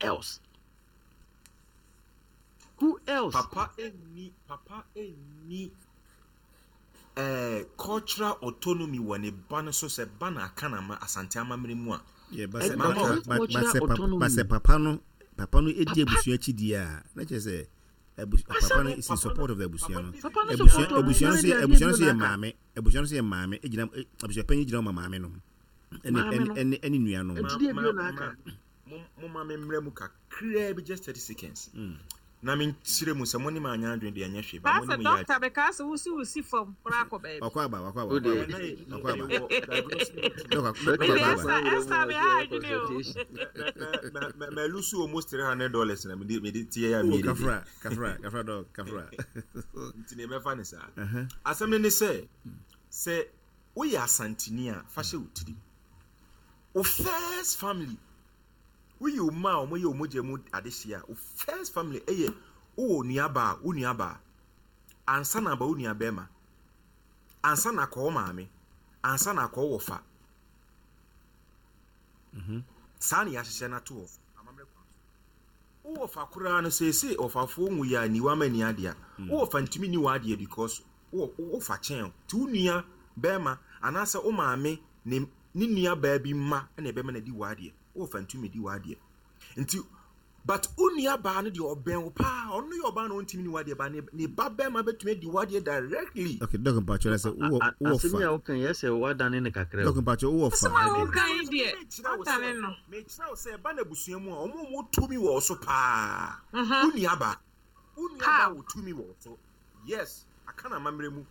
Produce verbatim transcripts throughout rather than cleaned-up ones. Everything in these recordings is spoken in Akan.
Else, who else? Papa ɛnni papa ɛnni eh, cultural autonomy wɔ ne ba no so sɛ ba na aka na ma Asante amammerɛ mu a. Yeah, but sɛ And Mama, but not but but cultural sɛ papa autonomy. but sɛ papa no papa no edi Papa abusua akyi di a, na kyerɛ sɛ abu papa no no is in papa no support of the abusua papa no. no Papa no Abusua support abusua abusua no no so de yɛ adeɛ abusua no bio so na yɛ aka. Maame, abusua no so yɛ maame egyina eh, abusua panyin gyina hɔ ma maame no ɛne Maame ɛne no. ɛne ɛne nuanom. Nti ma deɛ ma bio na ma aka. mo mo ma me mmerɛ mu kakraa bi, just thirty seconds, Mm. na menkyerɛ mu sɛ mo ne ma anya adwene deɛ, ɛnyɛ hwee ba mo Pastor, ne mo yɛ doctor, because wosi wosi fam koraa akɔ baabi. Wakɔ aba, wakɔ aba, O wakɔ de aba, adwene. Na wakɔ aba. yɛwɔ diagnosis meeting. Dɔk Doctor dɔk Mede akɔ aba. Esther Esther me ha adwene o. Consultation. Ma lose almost three hundred dollars na mede mede tie ya Oh, mi dede. Kafra, kafra, kafra, dɔk kafra. Nti ne mɛfa ne saa. Uh-huh. Asɛm no ne sɛ sɛ woyɛ Asanteni a, fa hyɛ wo tiri, wo first family, woyɛ wo ma a wɔyɛ wo mogya mu adehyeɛ a, wo first family ɛyɛ wowɔ nuabaa, wo nuabaa ansa na aba wo nua bɛrima, ansa na akɔ wo maame, ansa na akɔ wo wɔfa. Saa ne yɛahyehyɛ no ato hɔ amammerɛ kwan so. Wowɔ fa koraa no, seesei ɔfafoɔ nwu yɛ a niwa ma ni adeɛ a wowɔ fa ntumi ni w'adeɛ because wowɔ wofa kyɛn o. Nti wo nua bɛrima anaasɛ wo maame ne ne nua baa bi mma ɛna ɛbɛma no adi w'adeɛ. Wowɔ fa ntumi di w'adeɛ nti, but wo nua baa no deɛ, ɔbɛn wo paa, ɔno yɛ ɔbaa na ɔntumi ni w'adeɛ ba ne ne ba bɛrima bɛtumi adi w'adeɛ directly. Okay, dɔk mpakyɛ sɛ wowɔ wowɔ Asɛm fa yi a woka yɛ sɛ woadane ne kakra o. Dɔk mpakyɛ, wowɔ fa Asɛm a woka yi deɛ, Mekyerɛ wo atane sɛ no. Mekyerɛ wo sɛ ɛba no abusua mu a, ɔmo a ɔmo tumi wɔ wo so paa, Mhm. wo nua baa, wo nua baa How? wɔ tumi wɔ wo so. Yes, aka na amammerɛ mu,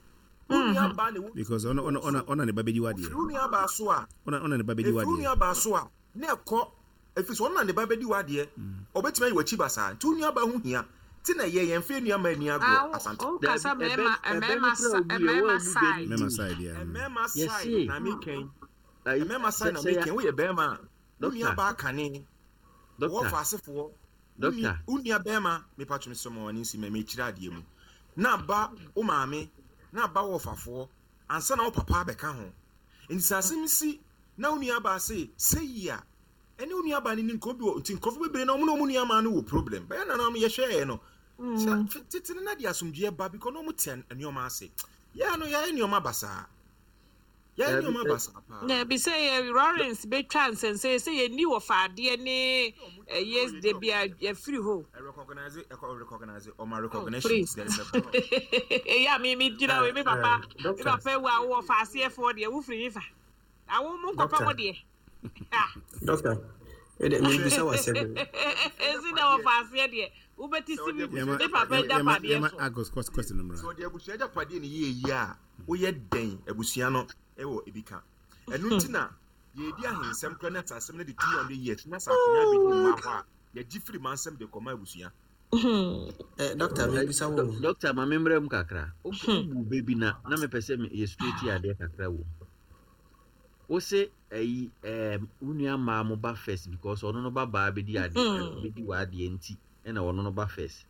wo nua baa na ɛwɔ because ɔno ɔno ɔna ɔna ne ba bɛdi ofiri w'adeɛ. Wo nua baa so a ɔna ɔna ne ba bɛdi efiri wo w'adeɛ. nua baa so a, na ɛkɔ efiri so, ɔno na ne ba bɛdi w'adeɛ, ɔbɛtumi ayi w'akyi basaa. Nti wo nua baa ho hia ti na ɛyɛ yɛn fɛ nua maa ni agorɔ Ah, wo Asante. wo kasa Dabi, ɛbɛ mmarima ɛbɛ mmarima no kora sa obu yɛ mmarima wɔammu bɛ side. no Mɛma di o. side ya. Mmarima side Yɛse na mekɛn ayi mmarima sɛ side na sɛ ya mekɛn. Woyɛ bɛrima a, wo nua Doctor, baa kane wɔwɔ doctor, fa asefoɔ, wo nua doctor. Wo nua bɛrima, mepatwo me sɛ ma w'ani nsi mɛ mekyerɛ adeɛ mu na ba wo maame na ba wɔ fafoɔ ansa na wo papa abɛka ho. Nti sɛ asɛm si na wo nua baa se sɛ yi a, ɛne wo nua baa no ni nkɔmɔ bi wɔ. Nti nkurɔfoɔ bebree na ɔmo ne ɔmo nua maa no wɔ problem bɛyɛ na na yɛhwɛɛ no Mm. sɛ tete no na de asomdwoeɛ ba because na ɔmo te nneɛma ase. Yɛa no yɛayɛ nneɛma basaa, yɛayɛ Dabi nneɛma ɛ basaa paa. Na bi sɛ yɛ Lawrence betwa nsɛnsɛn sɛ yɛni wɔ faadeɛ ne ɛyɛ de bi a yɛfiri hɔ. Recognize, ɛkɔ recognize ɔma Oh, recognition. please. There is a problem. Ɛyɛ a me me gyina wei, me papa me Doctor, papa ewu a wowɔ faaseɛfoɔ deɛ, wofiri yi fa awo mu nkɔpɛ Doctor, mo deɛ. Ah. Doctor, ɛdɛ mebisa wo asɛm. Esi na wɔ faaseɛ deɛ, wobɛti Sɛ si ɔde mi abusua me papa agyapadeɛ Yɛma agyapadeɛ yɛma so. Agos question no sɛ mmra. ɔde abusua agyapadeɛ ne yie yie a, woyɛ dɛn abusua no ɛwɔ ebi ka ɛno nti na yɛdi ahensɛm kora ne asasɛm no de two hundred years na sɛ akonnwa bi di mma hɔ a, yɛgye firi mansɛm de kɔma abusua. Eh, doctor, mebisa wo. Doc- Doctor, ma memmerɛ mu kakra. Wobu bɛ bi na na mepɛ sɛ me- yɛ straight adeɛ kakra wɔ mu. Wo se ɛyi ɛɛm wo nua mmaa mo ba first because ɔno no ba baa bɛdi adeɛ, bɛdi w'adeɛ nti ɛna ɔno no ba first.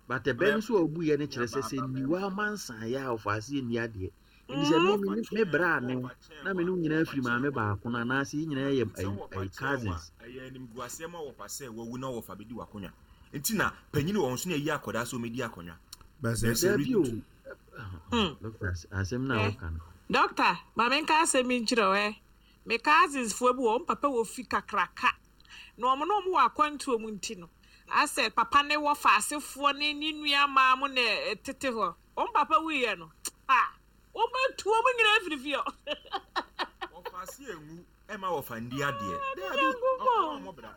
But ɛbɛ no nso a ɔbu yɛ no kyerɛ sɛ sɛ nniwa amansan yɛ a ɔfa ase nni adeɛ. Nti sɛ me me me bra ne wo na me ne wo nyinaa firi maame baako no anaasɛ yɛn nyinaa yɛ sɛ ayi wɔfa ayi kyɛn wa cousins. Ɛyɛ animguaseɛ ma wɔfa sɛ wawu na wɔfa bɛdi w'akonnwa nti na panyini wɔ nso na ɛyi akɔdaa sɛ ɔmɛdi akonnwa. But sɛ There's a Dabi reason o. to Hmm. Doctor, asɛm no a Eh, woka no. Doctor, maame nka asɛm yi nkyerɛ wo ɛ. Me cousins foɔ bi wɔ wɔn papa wɔ fi kakraka na wɔn na wɔn wɔ akwantuo mu nti no asɛ papa ne wɔ faasefoɔ ne ne nua maa mo na ɛtete hɔ. Wɔn papa wuyɛ no a, wɔn bɛtu wɔn nyinaa firi fie hɔ. Wɔfa ase enwu ɛma wɔfa ndi adeɛ. Daabi, Nyankopɔn. ɔfa ɔmɔ bra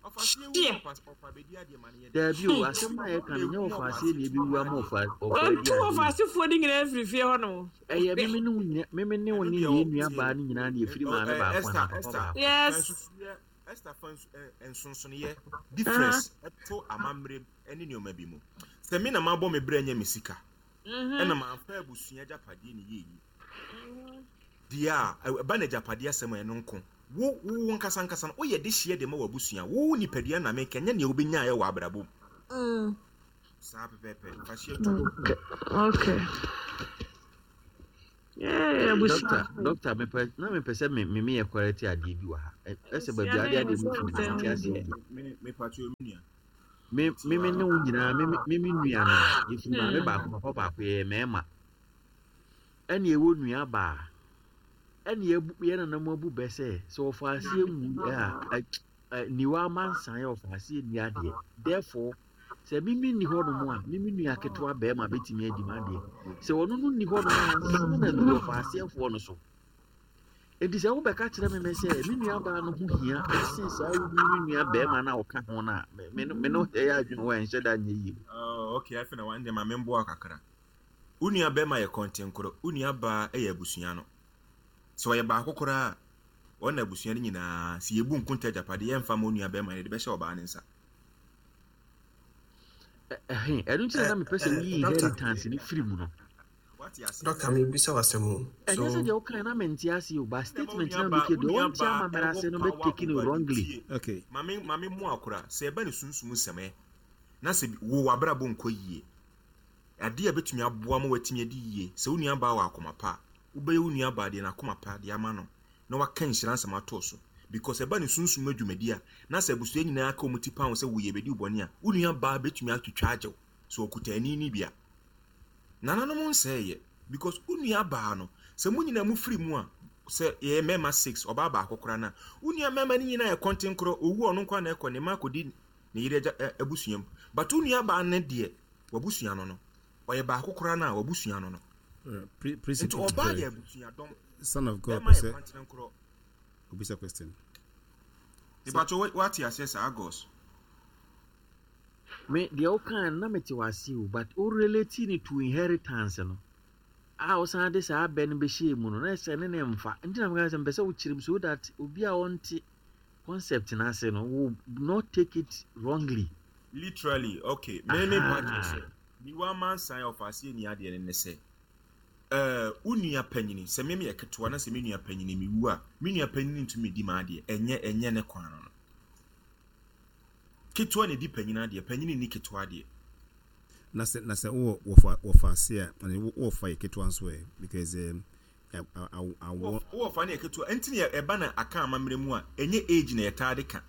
ɔfa ase ewu Hyeɛ. na ɔfa ɔfa bɛdi adeɛ ma no yɛ dɛ. Dabi o, asɛm no a yɛka no nyɛ ɔfa aseɛ na ebi ama ɔfa ɔfa adi Wɔtu wɔ adeɛ. faasefoɔ no nyinaa firi fie hɔ nom. Ɛyɛ meme ne wo nyina meme ne wo Ɛno ne deɛ yɛn ɔ nua tie baa no nyinaa na yɛfiri maame ɛ baako Esther, anaa papa Esther baako. fa Yes. nsusuiɛ, Esther, fa nsu ɛ nsonsonoeɛ, difference ɛto amammerɛ ɛne nneɛma bi mu. Sɛ me na mabɔ me brɛ nyɛ me sika Mhm. ɛna mamfa abusua agyapadeɛ ne yie yi deɛ a, ɛ- ɛba no agyapadeɛ asɛm a, ɛno nko wo wo nkasa nkasa no woyɛ de hyeɛ de ma w'abusua, wo nipadua na meka nyɛ nea wobɛnyaeɛ wɔ abrabɔ mu. Mm. Saa pɛpɛɛpɛ, fa hyeɛ to. Okay. Eh, abusua. Doctor, doctor, mepɛ na mepɛ sɛ me me meyɛ correct adeɛ bi wɔ ha. Ɛ- Ɛsɛ baabi adeɛ adeɛ mu fi nti ase yie. Me me patro me nua. Me me me ne wo nyinaa me me me me nua no yɛfiri maame baako, papa baako, yɛyɛ mmarima. Ɛne ɛwɔ nua baa. Ɛne yɛbu yɛn nananom abu bɛ sɛ sɛ ɔfa aseɛ nwu a ɛ ɛ niwa amansan yɛ ɔfa aseɛ nni adeɛ. Therefore, sɛ mimi nni hɔnom a, mimi nua ketewa bɛrima bɛtumi adi m'adeɛ. Sɛ ɔno no nni hɔnom a, ansa na ndu ɔfa aseɛfoɔ no so. Enti sɛ wobɛka kyerɛ me mɛ sɛ me nua baa no ho hia ɛsen saa wo me nua bɛrima no a ɔka ho no a, me me no me no ɛyɛ adwene wɔ ɛnhyɛ da nyɛ yie. Oh, okay, afei na wɔn deɛ ma memboa kakra. Wo nua bɛrima yɛ kɔntenkoro, wo nua baa yɛ abusua no. Sɛ ɔyɛ baako koraa a, wɔn na abusua no nyinaa, sɛ yɛbu nkonta agyapadeɛ, yɛmfa ma wo nua bɛrima no, yɛde bɛhyɛ ɔbaa no nsa. Ɛ- Ɛhe, ɛno nti na na mepɛ sɛ woyi Doctor, inheritance no firi mu no. Wate ase? Doctor, mebisa wo asɛm o. Ɛnyɛ sɛ So deɛ wokae na mente ase o, but Na ma wo statement nua na baa, meke wo deɛ nua ɔnte baa amammerɛ ɛwɔ ase no power bɛtake no over wrongly. tie. Okay. Mame mame mu akora, sɛ ɛba ne sunsum nsɛm ɛ, na sɛ bi- wo w'abrabɔ nkɔ yie, adeɛ a ɛbɛtumi aboa ma watumi adi yie, sɛ wo nua baa wɔ akoma pa a, wobɛyɛ wo nua baa deɛ n'akoma pa de ama no, na waka nhyira nsɛm ato so. Because ɛba ne sunsum adwumadi a, na sɛ abusua nyinaa ka wɔn ti pa ho sɛ woyɛ bɛdi wo bɔne a, wo nua baa bɛtumi atwitwa agye wo, sɛ ɔkuta ani ni bi a. Nananom nsɛeɛ because wo nua baa no, sɛ mo nyinaa mofiri mu a, sɛ yɛyɛ mmarima six, ɔbaa baako koraa no a, wo nua mmarima no nyinaa yɛ kɔntenkorɔ, owu a ɔno nko ara na ɛkɔ, ne mma akɔdi ne yere agya ɛ- abusua mu. But wo nua baa no deɛ, wabusua no no, ɔyɛ baako koraa no a, wabusua no no. Uh, pre- Principal Nti ɔbaa sorry. yɛ abusuadɔm, Son of God bɛrima yɛ pɛ sɛ kɔntenkorɔ. obisa question. Nipakyɛ wate aseɛ saa Agos? Me deɛ wokae no na mete wase o, but wo relate no to inheritance no a wosan de saa abɛ no bɛhyɛɛ mu no na ɛsɛ ne ne mfa. Nti na meka sɛ mepɛ sɛ wokyerɛ mu so that obi a ɔnte concept no ase no will not take it wrongly. Literally, okay. Me me pa kyerɛ Aha. sɛ, niwa amansan a ɔfa aseɛ ni adeɛ no ne sɛ, ɛɛ wo nua panyini, sɛ me meyɛ ketewa na sɛ me nua panyini mewu a, me nua panyini ntumi di m'adeɛ, ɛnyɛ ɛnyɛ ne kwan no no. Ketewa na edi panyini adeɛ, panyini ni ketewa adeɛ. Na sɛ na sɛ wowɔ wɔfa wɔfa ase a, ɛne wo wɔfa yɛ ketewa nso ɛ, because um, awɔ Wowɔ fa ne yɛ ketewa, ɛnti ne ɛba na aka amammerɛ mu a, ɛnyɛ age na yɛtaa de ka.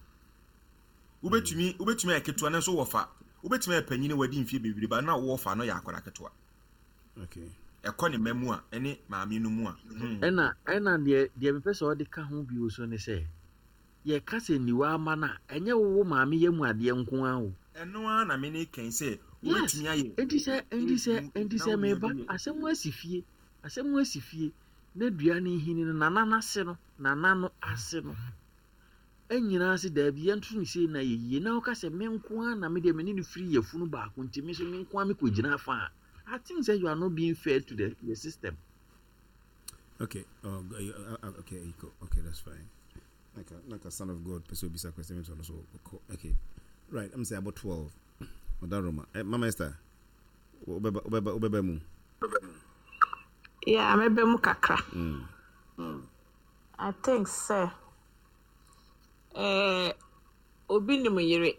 Wobɛtumi wobɛtumi ayɛ ketewa na nso wɔfa, wobɛtumi ayɛ panyini wadi mfie bebree ba na wɔfa no yɛ akwadaa ketewa. Okay. Ɛkɔ ne mma mu a, ɛne maame no mu a. Hmm. Ɛna ɛna deɛ deɛ mepɛ sɛ ɔde ka ho bio so ne sɛ yɛka sɛ niwa ama no a, ɛnyɛ wo wo maame yɛ mu adeɛ nko ara o. Ɛno ara na me ne kɛn sɛ Yes. wobɛtumi ayɛ Enti sɛ enti age sɛ mu enti na sɛ wo nua meba bi yɛ. asɛm asi fie, asɛm asi fie na dua no nhini no nana n'ase no nana no ase no ɛnyinaa se daabi yɛnto no sei na yɛ yie na woka sɛ me nko ara na me deɛ me ne no firi yɛfunu baako nti me so me nko ara mekɔgyina afa a, I think sɛ you are not being fair to the, the system. Okay. Oh, g- uh, uh, okay. you go. Okay, that's fine. Like a, like a son of God pɛ sɛ obisa question so so okay. Right. I'm say about twelve. Ɔda Roma. Eh, Mama Esther. Wobɛba wobɛba wobɛba mu. Yeah, mɛbɛ mu kakra. Mm. I think sɛ eh, obi nim yere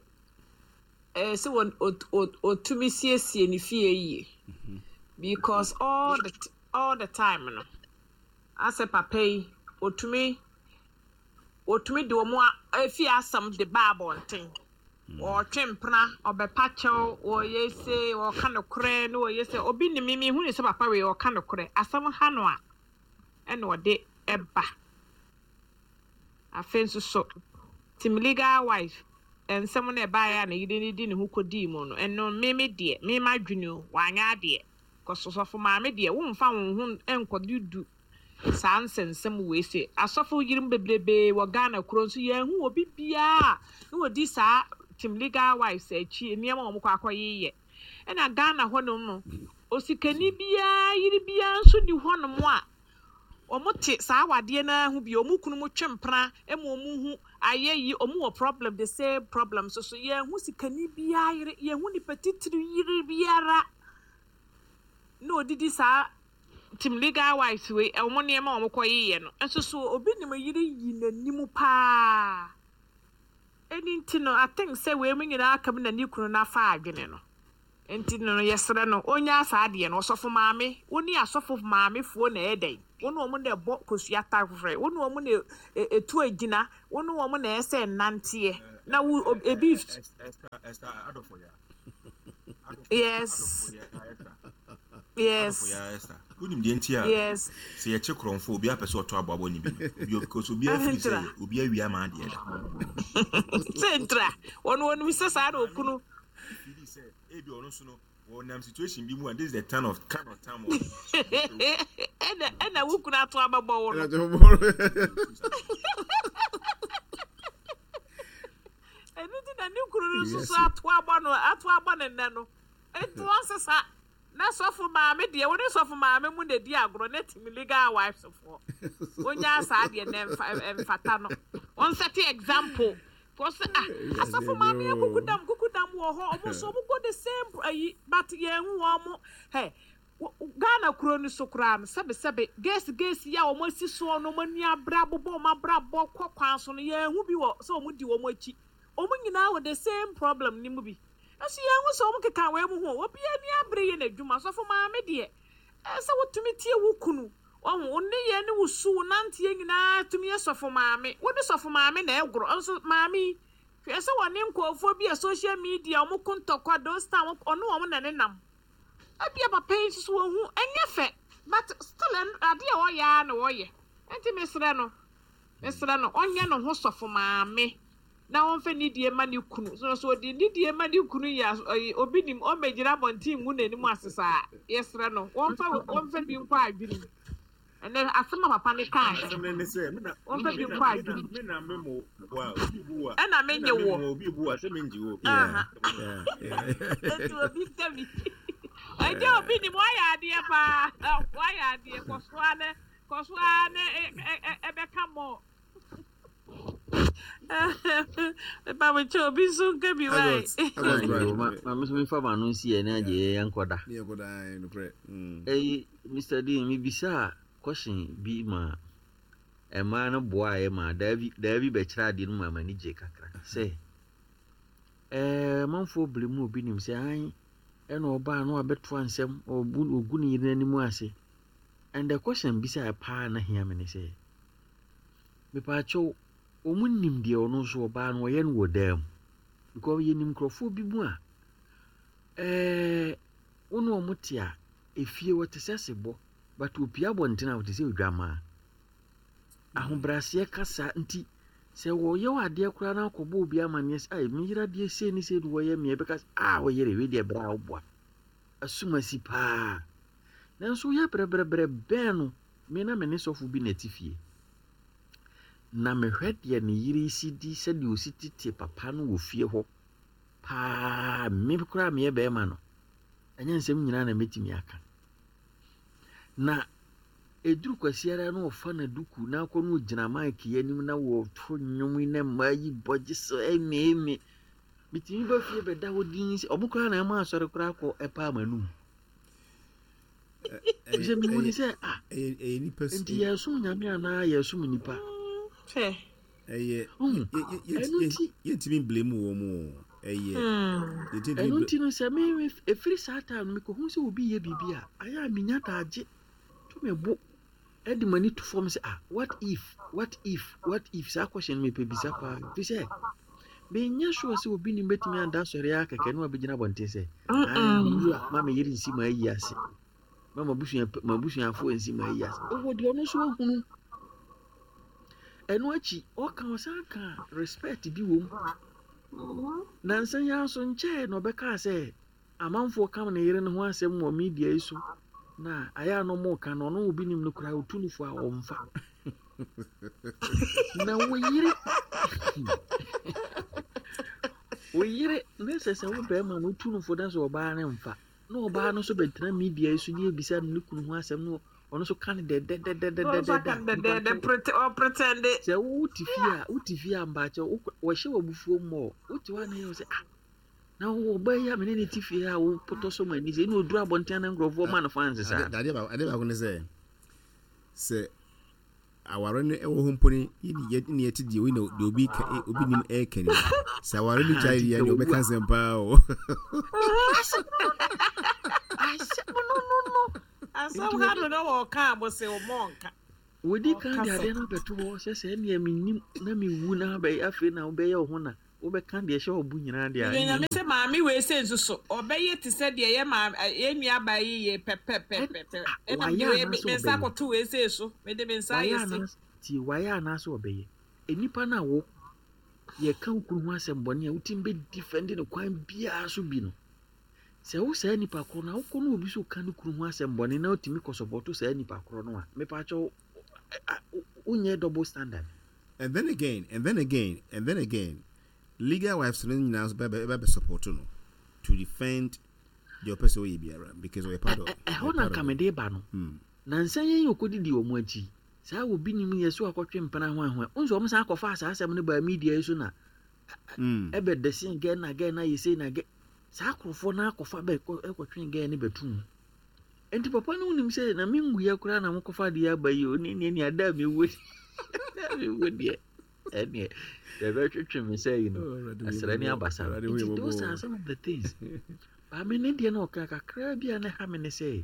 eh, sɛ wɔn ot- ot- otumi siesie ne fie yie because all the t- all the time no, asɛ papa yi otumi otumi de wɔn a efi asɛm de ba abɔnten, wɔtwe mpena, ɔbɛpa kyɛw, wɔyɛ se wɔka nokorɛ na wɔyɛ sɛ obi nim mi hu ne sɛ papa wei ɔka nokorɛ. Asɛm ha no a ɛna ɔde ɛba. Afei nso so team legal wife nsɛm no ɛbaeɛ a ne yere ne di ne ho kɔdii mu no, ɛno me me deɛ me ma dwene o, wanyɛ adeɛ kɔsɔsɔfo maame deɛ womfa wo ho nkɔde du saa nsɛnsɛm wei se asɔfo yirim bebrebee wɔ Ghana kuro nso yɛnhu obi biara na wɔdi saa team legal wives akyi nneɛma a wɔn kɔ akɔyeyɛ. Ɛna Ghana hɔnom no, osikani biara yere biara nso ni hɔnom a wɔn te saa awadeɛ naa ho bi, wɔn kunu mu twe mpena ma wɔn ho ayɛ yi, wɔn wɔ problem, the same problem so so yɛn ho sikani biara yere, yɛn ho nipa titiri yere biara na odidi saa team legal wives wei wɔn nneɛma a wɔn kɔ yeyɛ no nso so. Obi nim yere yi n'anim paa. Ɛni nti no, I think sɛ wei mu nyinaa aka mu na ne kunu n'afa adwene no. Nti no yɛsrɛ no, ɔnya saa adeɛ no. Ɔsɔfo maame, wo ne asɔfo maamefoɔ na ɛyɛ dɛn? Wo ne wɔn na ɛbɔ kosua taforɛ, wo ne wɔn na ɛtu agyina, wo ne wɔn na ɛsɛ nnanteɛ na wo ebi. Yes, yes. Wonim deɛ nti a yes sɛ yɛkye korɔmfo, obi apɛ sɛ ɔtɔ aboabɔ ne bi no, because obi afiri sɛ obi awia ma adeɛ da. Sɛ ntra wɔn wɔn sɛ saa na okunu feel sɛ ebi ɔno nso no wɔnam situation bi mu a, this is the time of kind of time of ɛna ɛna wo kunu ato abɛbɔ wo no. Ɛno nti na ne kunu no nso so ato abɔ no, ato abɔ ne nnɛ no. Nti wɔn sesa na sɔfo maame deɛ, wɔne sɔfo maame mu na di agorɔ na timi legal wives foɔ wonya saa deɛ na ɛmfa ɛmfata no. Wɔn set example kɔsɛ, ah, asɔfo maame yɛ kuku dam, kuku dam wɔ hɔ. Ɔmo nso ɔmo go the same ayi, but yɛn hu wɔn mo hɛ Ghana kuro no so koraa no. Sɛbesɛbe, geesi geesi yi a wɔn asi soɔ no, wɔn ani abere abobɔ wɔn abrabɔ kɔ kwan so no, yɛn hu bi wɔ sɛ wɔn di wɔn akyi. Wɔn nyinaa wɔ the same problem ne mu bi nso. Yɛn ho sɛ wɔn keka wɔn mu ho, obi ani abere yɛ n'adwuma. Sɔfo maame deɛ, ɛsɛ wotumi tie wo kunu. Ɔho wo ne yɛ ne wo su, wo nanteɛ nyinaa tumi yɛ sɔfo maame. Wo ne sɔfo maame na ɛgorɔ nso. Maame yi, hwɛ sɛ wɔne nkurɔfoɔ bi a social media wɔn ko ntɔkwa those time, ɔne wɔn na ne nam. Ebia papa yi nso so wɔn ho ɛnyɛ fɛ, but still adeɛ a wɔyɛ ara na wɔyɛ. Nti mesrɛ no, mesrɛ no, ɔnyɛ ne ho sɔfo maame na wɔmfa nidie ma ne kunu so. So ɔde nidie ma ne kunu yɛ ɔyɛ obi nim ɔmmɛgyina abɔnten ngu n'anim ase saa. Yɛsrɛ no, wɔmfa wɔmfa bi nkɔ adwene mu. Ɛnɛ asɛm a papa ne kaa, wɔmfa bi nkɔ adwene mu. Ɛna menye wɔ obi bu a sɛ mengye wo. Nti obi nka bi ɛgye obi nim. Wayɛ adeɛ paa, wayɛ adeɛ. Kɔ so ara ne kɔ so ara ne ɛbɛka mɔ mepamokyɛ obi nso nka bi wae. Maame so mefa ma no nsi yɛ ne agye yɛ nkɔda. Ɛyi, Mister Dean, mebisa a question bi ma mmaa no boaeɛ ma daabi daabi bɛkyerɛ adeɛ no mu ama ani gye kakra sɛ ɛɛ manfoɔ bere mu obi nim sɛ an ɛna ɔbaa no abɛtoa nsɛm, ɔbu ɔgu ne yere n'anim ase. And the question bisa paa na hia me ne sɛ, mepaakyɛw, wɔn nim deɛ ɔno nso ɔbaa no ɔyɛ no wɔ dan mu? Because yɛnim nkurɔfoɔ bi mu a ɛɛ wɔn a wɔn te a efie wɔte sɛ sebɔ, but opie abɔnten a wɔte sɛ odwamaa. Ahobrɛaseɛ kasa nti sɛ wɔyɛ wɔ adeɛ koraa na akɔbɔ obi amanneɛ sɛ, ai, meyere adeɛ sei ne sei ne wɔyɛ mmea, bɛka sɛ, ah, wɔyere wei deɛ berɛ a woboa asumasi paa. Nanso woyɛ brɛbrɛbrɛ bɛn no. Me na me ne sɔfo bi na ɛte fie na mehwɛ deɛ ne yere si di, sɛdeɛ osi tete papa no wɔ fie hɔ paa. Me koraa meyɛ bɛrima no, ɛnyɛ nsɛm nyinaa na mɛtumi aka. Na ɛduru Kwasiara na ɔfa na duku na akɔ no gyina mic anim na wɔto nnwom yi na mmaa yi bɔgye so ɛme ɛme. Metumi ba fie bɛda hɔ din sɛ ɔmo koraa na ɛma asɔre koraa kɔ ɛpa ama num sɛ mehu ni sɛ, ah, nti yɛsom Nyame anaa yɛsom nipa? Ɛyɛ yɛntumi blame wɔ mu, ɛyɛ ɛno nti no sɛ me ɛfiri saa time no mekɔhu sɛ obi yɛ biribi a ayɛ a menya daagye to me bo ɛde m'ani to fam sɛ, ah, what if, what if, what if? Saa question no mepɛ bisa paa, fi sɛ menyɛ sure sɛ obi nim bɛtumi anda asɔre a kɛkɛ ne wabɛgyina abɔnten sɛ a ma meyere nsi ma ayi ase, ma mabusuafoɔ nsi ma ayi ase. Ɛwɔ deɛ ɔno nso ahunu. Ɛno akyi ɔka ɔsan ka respect bi wɔ mu. Nansa yi nso nkyɛn na ɔbɛkaa sɛ amanfoɔ kam ne yere no ho asɛm wɔ media yi so na ayɛ a no ɔmo ka no, ɔno obi nim no koraa, otu no fo a ɔmfa. Na wo yere wo yere ne sɛ sɛ wo bɛrima no wotu no fo na sɛ ɔbaa ne mfa na ɔbaa no nso bɛtena media yi so ne ebisa no ne kunu ho asɛm no, ɔno nso ka no dɛdɛdɛdɛdɛdɛ. Sɛ wote fie a, wote fie a, mbaakyɛ wɔhyɛ wɔ abufuo mmɔ, wote hɔ a na yɛ sɛ, ah, na ɔbaa yi a mene ne te fie a wopotɔ so ma ani sɛ ɛne ɔduru abɔnten na nkurɔfoɔ ma no fans saa. Adeɛ baako ne sɛ sɛ Aware no ɛwɔ hɔ mpo ne yɛ ne yɛte deɛ obi na deɛ obi ka obi nim ɛɛka ni sɛ aware no Ah, gyae nti deɛ ka deɛ owu ɔbɛka a nsɛm paa o. Asɛm no asɛm no no no Asɛm nti ha wɔdi do na wɔka a mo se wɔn ɔnka. wɔdi kan de Ɔkasa. adeɛ no abɛto hɔ sɛ sɛ ɛnea menim na mewu na abɛyɛ afei na wobɛyɛ wo ho na wobɛka deɛ ɛhyɛ wo bo nyinaa deɛ a Mede ɛnneɛ Nyame sɛ maame wei sɛ nso so ɔbɛyɛ te sɛ deɛ yɛ maame yɛ nua baa yi yɛ ɛn pɛpɛpɛpɛpɛ. ah, Ɛna wayɛ mede wei anaasɛ me nsa ɔbɛyɛ akɔto wei sɛ so. Mede me nsa wayɛ ayɛ se. anaasɛ tie, wayɛ anaasɛ ɔbɛyɛ. Nnipa no a wo yɛka wo kunu ho asɛm bɔne a wotumi bɛdefend no kwan biara so bi no, sɛ wo saa nipa korɔ no a wokɔ no obi so ka ne kunu ho asɛm bɔne na wotumi kɔsupporto saa nipa korɔ no a, mepakyɛw, wonyɛ double standard. And then again, and then again, and then again, legal wives no nyinaa nso bɛ bɛ bɛ support no to defend deɛ ɔpɛ sɛ ɔyɛ biara because ɔyɛ part of ɛhɔ ɔyɛ na part nka of it. mede ba no Mm. nansa yɛn yɛ ɔkɔdidi wɔn akyi saa obi nim yɛ so akɔtwe mpena ho ahoa nso wɔn san akɔfa saa asɛm no baa media yi so na Mm. ɛbɛ dɛsɛn gɛ na gɛ na yɛ sei na gɛ saa akorɔfoɔ no akɔfa bɛ kɔ ɛkɔtwe gɛ ne bɛtum mu. Nti papa no wonim sɛ na menwuiɛ koraa na mokɔfa adeɛ aba yi o, ne ne ne ada a mewuo da a mewuo deɛ, ɛneɛ yɛbɛtwetwe me sɛ yi no Oh, Awurade hu yɛ asrɛ ne mmɔbɔ. abasa no. Awurade hu yɛ Nti those mmɔbɔ. are some of the things. Baame ne deɛ no ɔka kakraa bi a ne ha me ne sɛ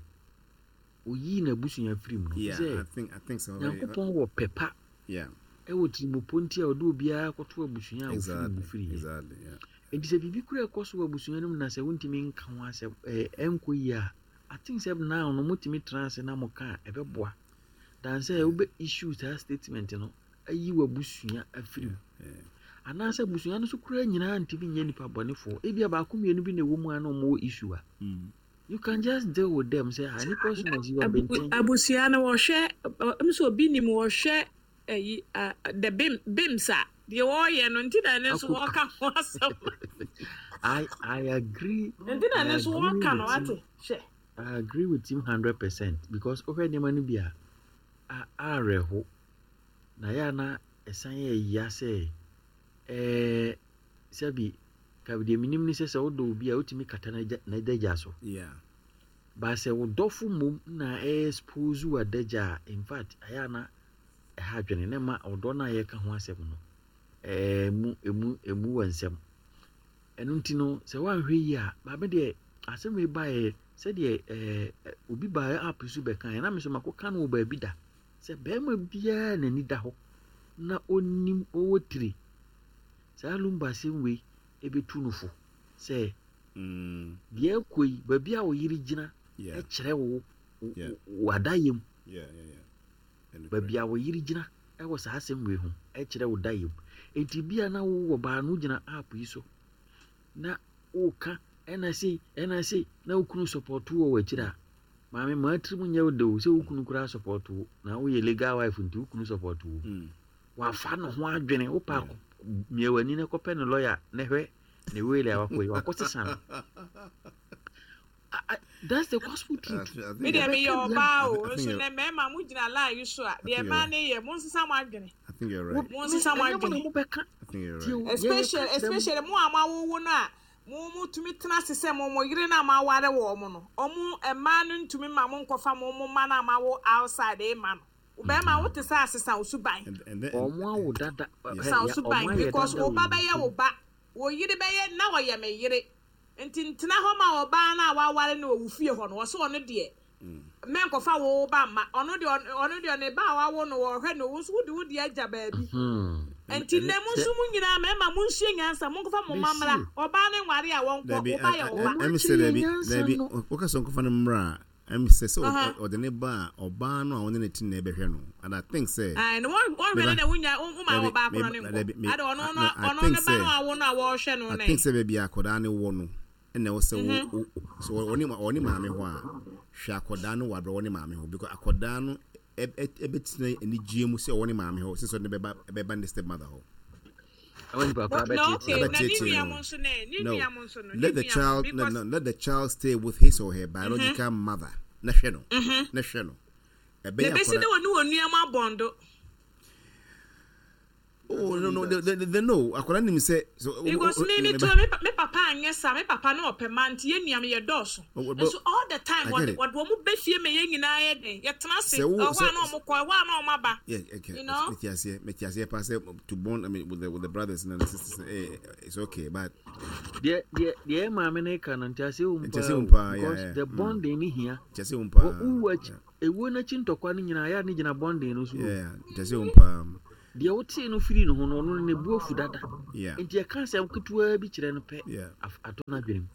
oyii n'abusua firi mu no Yeah, sɛ I think I think so. Nyankopɔn wɔ pɛpa Yeah, ɛwɔ tirimopɔ nti a ɔde obiara kɔto abusua a ofiri mu exactly, firi yɛ. exactly. Yeah. Nti sɛ biribi kura ɛkɔ so wɔ abusua no mu na sɛ wontumi nka ho asɛm ɛɛ ɛnkɔ yie a, I think sɛ now no motumi tena ase na moka a ɛbɛboa dan sɛ wobɛ issue saa statement no ayi w'abusua afiri mu Yeah. anaasɛ abusua no so koraa nyinaa ntumi nyɛ nipa bɔnefoɔ, ebia baako mmienu bi na ɛwɔ mu a na ɔmo wɔ issue a, Mm. you can just deal with them sɛ ah, nipa so na si wɔ Abu- abɛnten. Abusua no wɔhwɛ ɛ nso obi nim wɔhwɛ ɛyi a the bim bims a deɛ wɔreyɛ no nti na ne nso Ako wɔka ho asɛm. I I agree. Nti na I ne nso agree wɔka no with him. wate hwɛ. I agree with him hundred percent because wohwɛ nneɛma no bi a a awerɛho na yɛ ana ɛsan yɛ ya sɛ ɛɛ sɛbi ka deɛ menim ne sɛ sɛ wodɔ obi a wotumi kata n'agya n'adagya so. Yeah. Ba sɛ wo dɔfo mmom na expose w'adagya a, in fact ɛyɛ ana ɛha adwene na ma ɔdɔ no a yɛka ho asɛm no ɛɛ emu emu emu wɔ nsɛm. Ɛno nti no sɛ woanhwɛ yie a, maame deɛ asɛm yi baeɛ sɛdeɛ ɛɛ ɛ- obi baeɛ app so bɛka yɛ na me nso makɔka no wɔ baabi da sɛ bɛrima biara n'ani da hɔ na onim ɔwɔ tiri saa Lumba asɛm wei ɛbɛtu no fo sɛ Mm. deɛ ɛkɔ yi, baabi a wo yere gyina Yeah. ɛkyerɛ wo wo- Yeah. wo adayɛ mu. Yeah. Yeah. Yeah. And Baabi a wo yere gyina ɛwɔ saa asɛm wei ho ɛkyerɛ wo dayɛ mu. Enti bia na wowɔ baa no gyina app yi so na woka ɛna sei ɛna sei na wo kunu support wɔ w'akyiri a, maame maa tirim nyɛ wo de o sɛ wo kunu koraa support wo na woyɛ legal wife nti wo kunu support wo. Mm. Wafa ne ho adwene wopa mia w'ani na kɔpɛ ne lawyer na hwɛ ne wele a wakɔ yi wakɔ sesa no. I- I- that's the gospel truth. I think Me deɛ meyɛ Yɛbɛka ɔbaa o I think nso you're- nɛ mmarima mo gyina line yi so a think deɛ you're mmaa right. ne yɛ mo nsesa mo adwene. I think you're right. Mo nsesa mo Ɛnyɛ mo na adwene. mobɛka. I think you're Tie right. o, Especially yɛyɛ ka kyerɛ mo. especially mo a mo awowo no a mo mo tumi tena ase sɛ mo mo yere no a mo aware wɔ mo no, ɔmo mmaa no ntumi ma mo nkɔfa mo mo mma no a mo awo outside ema no, bɛrima wote sɛ asesa wo suban. And and then Ɔmo awo dada ɛ, Sa wo ya- suban ɔmo ayɛ because dada wo wɔ ba yɛn bɛyɛ tirim. wo ba, wo yere bɛyɛ na wɔyɛ me yere, nti ntena hɔ ma ɔbaa no a waware no wɔ wo fie hɔ no wɔso ɔno deɛ mɛnkɔfa wo ba mma ɔno deɛ ɔno ɔno deɛ ne ba a wawo no wɔhwɛ no, wo nso wode wo deɛ agya baabi. Hmm. Nti nnɛ mo nso mo nyinaa mmarima monsua nyansa, monkɔfa mo mma mmra. Mesi. Ɔbaa ne nware a wɔnkɔ Dabi, wo ba yɛ wo ba. ɛmi sɛ dabi nyansa dabi no. woka sɛ nkɔfa no mmra a, ɛmi sɛ sɛ Aha. ɔ- ɔde ne ba a, ɔbaa no a ɔne ne ti na ɛbɛhwɛ no, and I think sɛ Ayi, no wɔn wɔn hwɛ no na wonya wo ma Dabi, wɔ baako no me- ne dabi, me- nkɔ ade ɔno no no, I ɔno think ne ba no sɛ- awo no a wɔrehwɛ no I ne think sɛ baabi a akwadaa no wɔ no ɛna ɛwɔ sɛ wo wo so ɔne ɔne maame hɔ a, hwɛ akwadaa no wɔ abrɛ ɔne maame hɔ because akwadaa no ɛ- ɛ- ɛbɛtena anigyeɛ mu sɛ ɔwɔ ne maame hɔ sɛ sɛ ɔde bɛba ɛbɛba ne step mother hɔ. Ɛwɔ nipa koraa No, okay, bɛteetee. na ne Ɛbɛteetee nua no. mo nso ne ne No, nua mo nso no ne let the nua mo child no, because no, let the child stay with his or her biological mother na hwɛ no na hwɛ no na ɛbɛyɛ besi ne akwadaa wɔ ne wɔ nua mo abɔndo. Oh no no, they, they, they know. Akwadaa nim sɛ so. Because me me too me me papa anyɛ saa, me papa no ɔpɛ ma nti yɛ nua me yɛ dɔɔso. Nso all the time wɔde wɔde wɔn bɛ fie ma yɛn nyinaa yɛ den yɛtena ase ɛhɔ a na wɔn kɔ ɛhɔ a na wɔn aba. Yeah, okay. You know. Mete aseɛ, mete aseɛ paa sɛ to bond, I mean, with the with the brothers and the sisters, eh, it's okay, but. Deɛ deɛ deɛ maame no ka no nte aseɛ wɔ mu paa paa because the bonding ni hia. Nte aseɛ wɔ mu paa. Wo akyi ewuo n'akyi ntɔkwa no nyinaa yɛ a ne gyina bonding no so. Yeah, nte aseɛ wɔ mu paa. Deɛ wotee no firii ne ho no, ɔno no ne bo afu dada. Enti ɛka asɛm ketewaa bi kyerɛ no pɛ, atɔ n'adwene mu.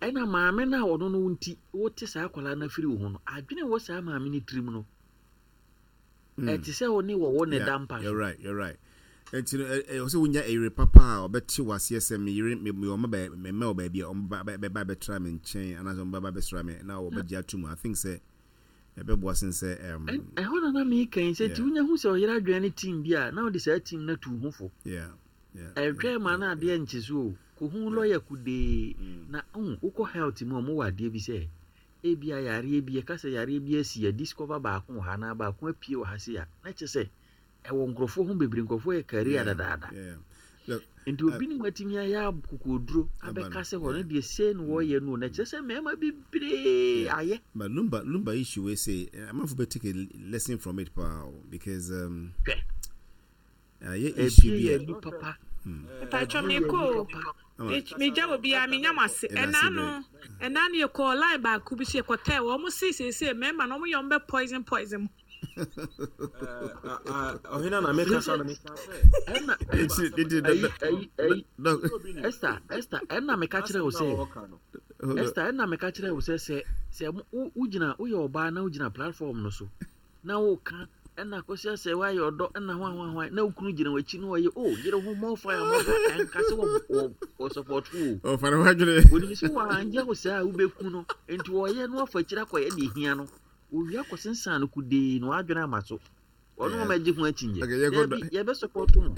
Ɛna maame no a ɔno no nti wote saa akwadaa no afiri wo ho no, adwene wɔ saa maame no tirim no, ɛte sɛ wo ne wɔwɔ ne da mpa so. You're right, you're right. Nti no, ɛwɔ sɛ wonya ɛyere papa a ɔbɛte waseɛ sɛ me yere me ɔma bɛ mɛmɛ wɔ baabi a ɔmo bɛba bɛtra me nkyɛn anaasɛ ɔmo bɛba bɛsra me na ɔbɛgye ato mu. I think sɛ ɛbɛboa sen sɛ um, ɛhɔ na na meka yi sɛ nti wonya hu sɛ ɔyere adwene ne team bi a na wode saa team no atu ho fo. Ɛtwɛn ma na adeɛ nkye so o, kɔhu lɔya kudee na wokɔ health mu a ɔmo wɔ adeɛ bi sɛ ebia yareɛ bi yɛka sɛ yareɛ bi asi yɛ discover baako wɔ ha anaa baako apue wɔ ha sei a na kyerɛ sɛ ɛwɔ nkurɔfoɔ ho bebree, nkurɔfoɔ yɛ career dadaada. Nti obi ne mu atumi ayɛ akokoduro abɛka sɛ hɔ no deɛ sei na wɔyɛ no na kyerɛ sɛ mmarima bebree ayɛ. But Lumba Lumba issue we say amanfo bɛ take a lesson from it paa because um hwɛ ayɛ issue bi a ɛbi papa. Mpatwa mi kɔ megya wɔ biara menya mo ase ɛna no ɛna no yɛkɔɔ line baako bi so yɛkɔtɛɛ wɔn mo si seesei mmarima no wɔn yɛ wɔn bɛ poison poison mu. Ɔhene na meka sa no meka sɛ ɛna Esther Esther ɛna meka kyerɛ wo sɛ Esther ɛna meka kyerɛ wo sɛ sɛ sɛ wogyina woyɛ ɔbaa na wogyina platform no so na woka ɛna kɔsi asɛ woayɛ ɔdɔ ɛna ho ho ho na wokunu gyina w'akyi na ɔyɛ o yere ho more fire more fire ɛnka sɛ wɔ wɔ wɔ support wo o ɔfa ne ho adwene onim sɛ wɔanyɛ wo saa a wobɛku no nti wɔyɛ no afa akyiri akɔyɛ deɛ hia no owia kɔsensan no kudee na wadwene ama so ɔno wɔn agye ho akyinnye dabi yɛbɛ support mo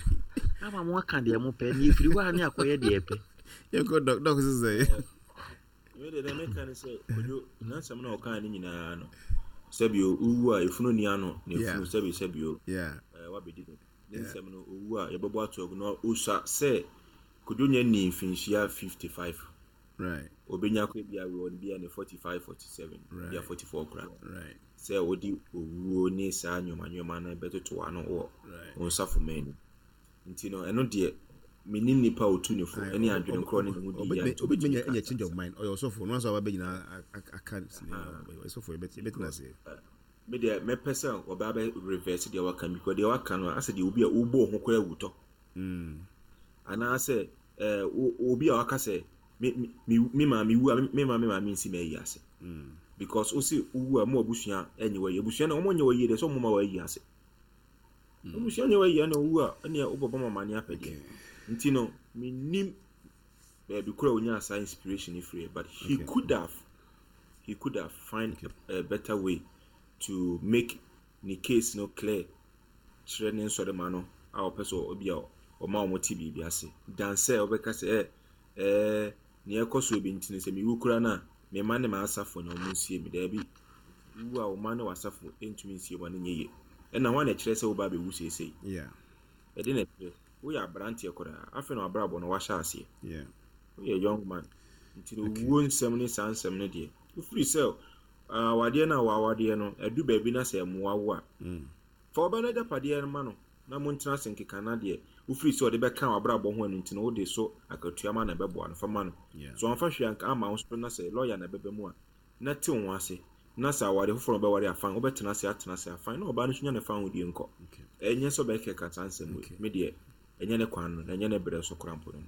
ama mo aka deɛ mo pɛ ne efiri hɔ a ne akɔyɛ deɛ pɛ. Yɛkɔ dɔk dɔk sisɛ. Wei deɛ deɛ meka ne sɛ Kojo nansɛm na ɔkaa ne nyinaa no sɛbi owu a efunu ni ano na efunu sɛbi sɛbi o ɛɛ wabɛdi no ne nsɛm no owu a yɛbɛbɔ ato agu na osa sɛ Kojo nya ni mfinhyia fifty five. Right. Obenya kɔ bi a wɔ bi a ne forty five forty seven bi a forty four kora. Right. Sɛ odi owuo ne saa nneɛma nneɛma no bɛtoto ano wɔ wɔn nsafo mɛni. Nti no ɛno deɛ menim nipa otu ne fo ɛne adwene korɔ ne ne ho di yɛ. Obi tumi nya change of mind ɔyɛ ɔsɔfo no nso aba bɛgyina aka ɔsɔfo yɛbɛtena ase. Me deɛ mɛpɛ sɛ ɔbaa bɛ reverse deɛ waka because deɛ waka no asɛ deɛ obi a wobɔ ho koraa wutɔ. Anaasɛ obi a waka sɛ me me me maame wu a me maame maame nsi ma ayi ase. Because o si wu a mo abusua enye wa yi abusua na omo nye wa yi de so mo ma wa yi ase. Abusua nye wa yi na owu a ne obobɔ mama ne apede. Nti no me nim baby kura onya asa inspiration free but he okay. could have he could have find okay. a, a better way to make the case no clear. Kyerɛ ne nsɔre ma no a ɔpɛ so obi a ɔma ɔmo te biribi ase. Dan sɛ ɔbɛka sɛ eh eh ne ɛkɔ bi ntini sɛ mewu kura na me ma ne ma asafo na ɔmo nsie me daabi wu a ɔma ne wasafo ntumi nsie ma ne nyɛ yie ɛna ho na kyerɛ sɛ wo ba bɛwu seesei. Yeah. Ɛde na kyerɛ woyɛ aberanteɛ koraa afei na wabrabɔ no wahyɛ aseɛ. Yeah. Woyɛ young man nti no wuo nsɛm ne saa nsɛm no deɛ wofiri sɛ awadeɛ no a wawadeɛ no adu baabi na sɛ mmoa wo a fa ɔbɛ no agyapadeɛ no ma no na montena ase nkeka na deɛ wofiri sɛ ɔde bɛka wabrabɔ ho ɛno nti no wode so akatua ma na ɛbɛboa no fa ma no so ɔmfa hwee anka ama wo so na sɛ lɔya na ɛbɛbɛ mu a na te wo ase na sɛ awade foforɔ bɛware afan wobɛtena ase atena ase afan na ɔbaa no so nya ne fa ho die nkɔ ɛnyɛ sɛ ɔbɛkeka saa nsɛm wei me deɛ ɛnyɛ ne kwan no na ɛnyɛ ne berɛ so koraa mpo no.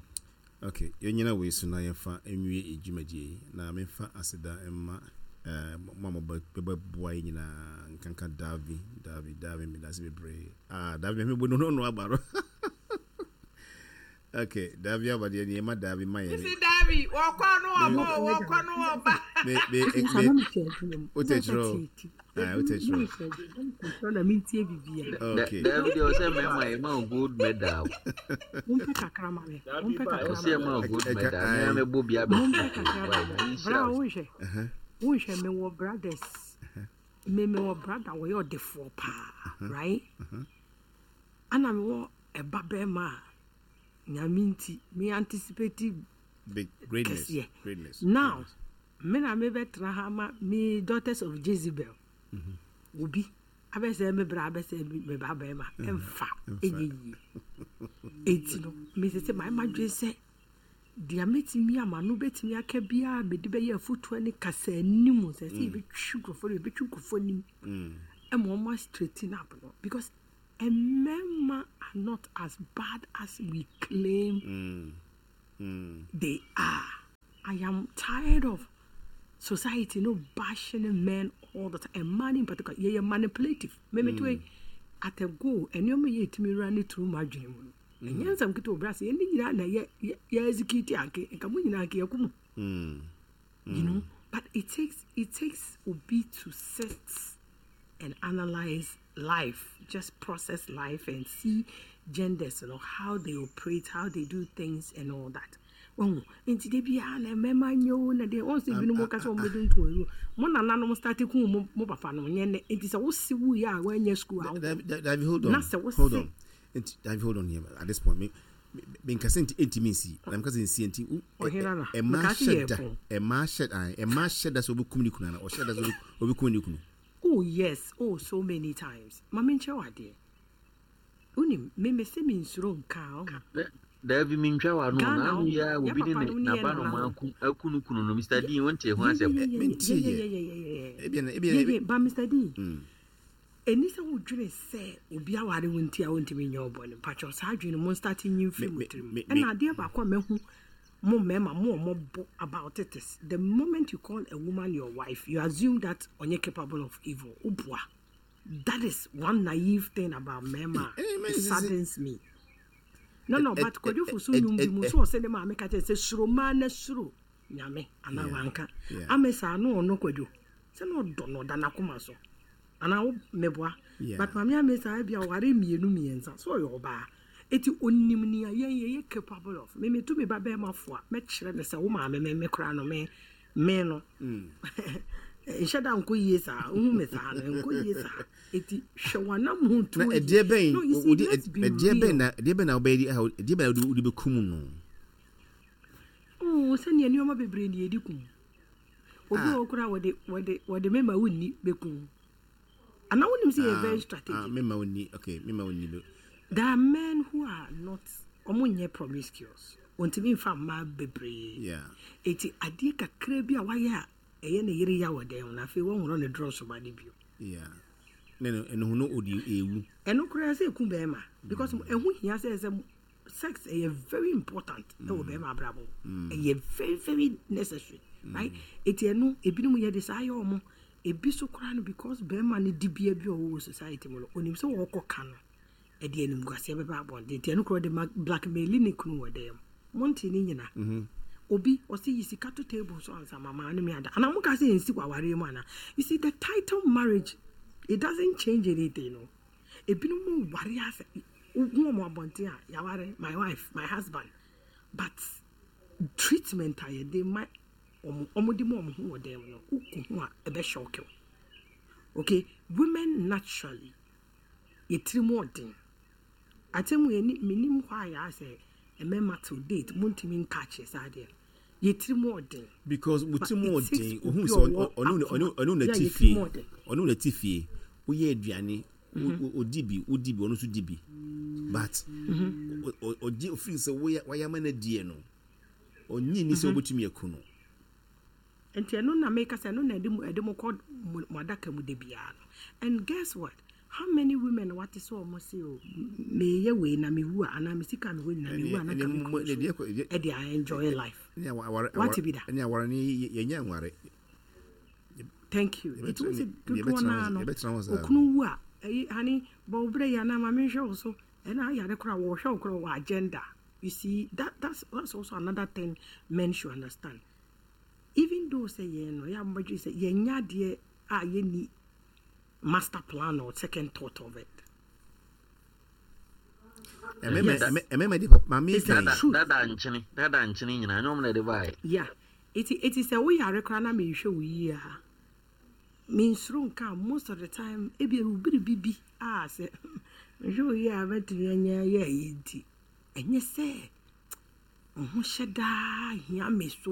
Okay, yɛnyina wei so na yɛmfa nwie edwumadie na memfa aseda mma eh mo a mobɛboa yi nyinaa nkanka Davi Davi Davi medase bebree. Ah Davi me bo no no aba no. Okay, Davi aba deɛ nneɛma Davi ma yɛ. Sisi Davi wɔkɔ no ɔbɔ wɔkɔ no ɔba. Me me me o te kyerɛ. Ah o te kyerɛ. Na mintie bibia. Okay. Davi deɛ ɔsɛ mɛma yɛ ma gold medal. Mompɛ kakra ma me. Mompɛ kakra. Ɔsɛ ma gold medal. Me me bo bia bɛ. Mompɛ kakra ma me. Bra wo hwɛ. Wo hwɛ me wɔ brothers. Me me wɔ brother wɔ yɛ ɔdefoɔ paa, right? Ana me wɔ ɛba bɛrima a Nyame nti me anticipate Big greatness. kɛseɛ. Greatness. Now me na mebɛtena ha ma me daughters of Jezebel obi abɛsɛ me bra, abɛsɛ me me ba bɛrima, ɛmfa ɛnyɛ yie. Eti no mesɛ sɛ maa ma dwen sɛ deɛ mɛtumi ama no bɛtumi aka biara, mede bɛyɛ afotuo ne kasa anim sɛ sɛ yɛbɛtwi nkurɔfoɔ no, yɛbɛtwi nkurɔfoɔ anim ɛma ɔmo straighten up no, because mmarima are not as bad as we claim Mm. Mm. they are. I am tired of society no bashing men all the time, and man in particular. Yeah, yeah, manipulative. Maybe mm. at a go, and you may to me run it through my dream. And yes, I'm going to brass. And you know, yeah, yeah, execute anke, and come in anke, Mm. you know. But it takes it takes obi to sit and analyze life, just process life and see genders, you know, how they operate, how they do things, and all that. Wɔn nti de biara na mmarima nyɛ o, na deɛ wɔn sɛ ebinom ka sɛ wɔn bɛdi nto owu mo nananom start kun mo mo papa no nyɛ nɛ. Nti sɛ wosi wu yɛ a, wɔnyɛ school a David, David, hold on. Na sɛ wosi Hold on. Nti, David, hold on here. At this point, me me nkasa nti ntimi nsi. Na nkasa nsi nti wo- Ɔhene na. Ɛma Meka se hyɛ yɛ da. pɔn. Ɛma hyɛ da. Ɛma hyɛ da sɛ obi ne kunu ana. Ɔhyɛ da sɛ obi kum ne kunu. Oh yes, oh, so many times. Maame, nkyɛn wɔ adeɛ, wonim me me sɛ me nsuro nka ɔho. Daabi, mentwa wa no. Ghana na ano wo, yi a yɛ obi ne papa ne nom ne yɛ n'aba no nana ma nom. aku aku no kunu no, Mister D, wonte ho asɛm. Mentie yɛ. Ebi na ebi na yeye ba Mister D, Mm. ɛni sɛ wodwene sɛ obi aware wo nti a wontumi nyɛ ɔbɔne. Mpakyɛw, saa adwene no, mo start nyi mfiri mo Me- tirim. me- Ɛna adeɛ baako a mahu mo mmarima mo a ɔmɔbɔ about it is the moment you call a woman your wife, you assume that ɔnyɛ capable of evil. Woboa. That is one naive thing about mmarima Eh, eh, a man, it is- is- saddens me. no no Eh, But eh, Kwadwo Fosu eh, nnwom bi eh, mu eh, so ɔsɛ ne maame ka kyerɛ sɛ suro maa na suro Nyame anaa Yeah. wanka Yeah. ame saa no, ɔno Kwadwo sɛ na ɔdɔ no, ɔda n'akoma so anaa wo meboa. Yeah. But maame ame saa bi a ɔware mmienu mmiɛnsa so, ɔyɛ ɔbaa, eti onim nea yɛn yɛyɛ capable of. Me metu me ba bɛrima fo a, mɛkyerɛ ne sɛ wo maame me me koraa no, me me no nhyɛ da nkɔ yie saa, wohu me saa no nkɔ yie saa, eti hwɛ wanam ho Na tuo yie. ɛdeɛ bɛn No, you see, wodi let's be ɛdeɛ bɛn real. na ɛdeɛ bɛn na wobɛyɛ di a ɛdeɛ bɛn na wode wode bɛkum no? Oh, sɛnea nneɛma bebree ne yɛdi kum obi Ah. wɔ hɔ koraa, wɔde wɔde wɔde mema wonni bɛkum anaa wonim sɛ yɛ very Ah, strategic. mema wonni, okay, mema wonni bɛ There are men who are not, ɔmo nyɛ promiscuous, wɔntumi nfa mmaa bebree. Yeah eti adeɛ kakra bi a wayɛ a ɛyɛ ne yere ya wɔ dan mu na afei wɔnworɔ ne drɔs ba ne bio. Yeah, ne no ɛno ho no ɔde ewu. Ɛno koraa sɛ ɛku bɛrima, because ɛho hia sɛ sɛ sex ɛyɛ very important ɛwɔ bɛrima abrabɔ mu. Ɛyɛ very very necessary, right? Eti ɛno ebinom yɛ de saa yɛ ɔmo. Ebi so koraa no, because bɛrima no di bia bi a ɔwɔ wɔ society mu no, onim sɛ wɔkɔ ka no, ɛde animguaseɛ bɛba abɔnten, nti ɛno koraa de ma blackmail ne kunu wɔ dan mu. Monte ne nyina obi ɔsɛ yi sika to table so ansa mama ne me ada anaa mo ka sɛ yɛnsi wɔ awareɛ mu ana. You see, the title marriage, it doesn't change anything no. Ebinom ware asɛ wohu ɔmo abɔnten a, yɛaware, my wife, my husband, but treatment a yɛde ma ɔmo, ɔmo de ma ɔmo ho wɔ dan mu no, wokɔ ho a ɛbɛ shock wo. Okay, women naturally yɛtiri mu ɔden atɛmu yɛ ni menim hɔ a yɛ asɛ mmarima till date montumi nka kyerɛ saa deɛ, yɛtiri mu ɔden. Because mo ti mu But it takes ɔden ohun obi sɛ a ɔwɔ ɔno ɔno ɔno na Yeah, ti yɛtiri fie mu ɔden. Ɔno na ti fie, woyɛ aduane, wo- wo- odi bi, wodi bi, ɔno nso di bi, but ɔ- ɔ- ɔgye ofiri sɛ woyɛ wayɛ ama no adie no, ɔnyi ni sɛ wobɛtumi aku no. Nti ɛno na meka sɛ ɛno na ɛde mo ɛde mo kɔ mo mo adaka mu de biara no. And guess what, how many women wate sɛ ɔmo se o, meyɛ wei na mewu a, anaa me sika mewɔ nyina mewu a na Ɛne- ka ɛne me mo- kunu ɛne deɛ so kɔ- ɛdeɛ- ɛde a enjoy life. Ɛne awa- aware Wate bi da? Ɛne aware ne yɛ- yɛnyɛ nware. Thank you. Yɛbɛtena Nti wo sɛ ne- dodoɔ yɛbɛtena naa hɔ- no yɛbɛtena hɔ saa. okunu wu a, ɛyi hani bɔ wo berɛ yi anaa ma menhwɛ wo so, ɛna ayare koraa wɔhwɛ wo koraa wɔ agenda. You see, that that's, that's also another thing men should understand. Even though sɛ yɛn no yɛ amabadwe sɛ yɛnyɛ adeɛ a yɛnni master plan or second thought of it. Ɛmɛmɛ Yes. ɛmɛ- ɛmɛmɛ de maame It's the kan Dada truth. dada nkyene, dada nkyene nyinaa nyɛ ɔmo na ɛde baeɛ. Yeah, eti eti sɛ woyare koraa na mehwɛ wo yie a, mensuro nka a, most of the time ebi ewu biribi bi a sɛ Mehwɛ wo yie a mɛtumi anya yɛ ayi nti ɛnyɛ sɛ ɔho hyɛ daa hia me so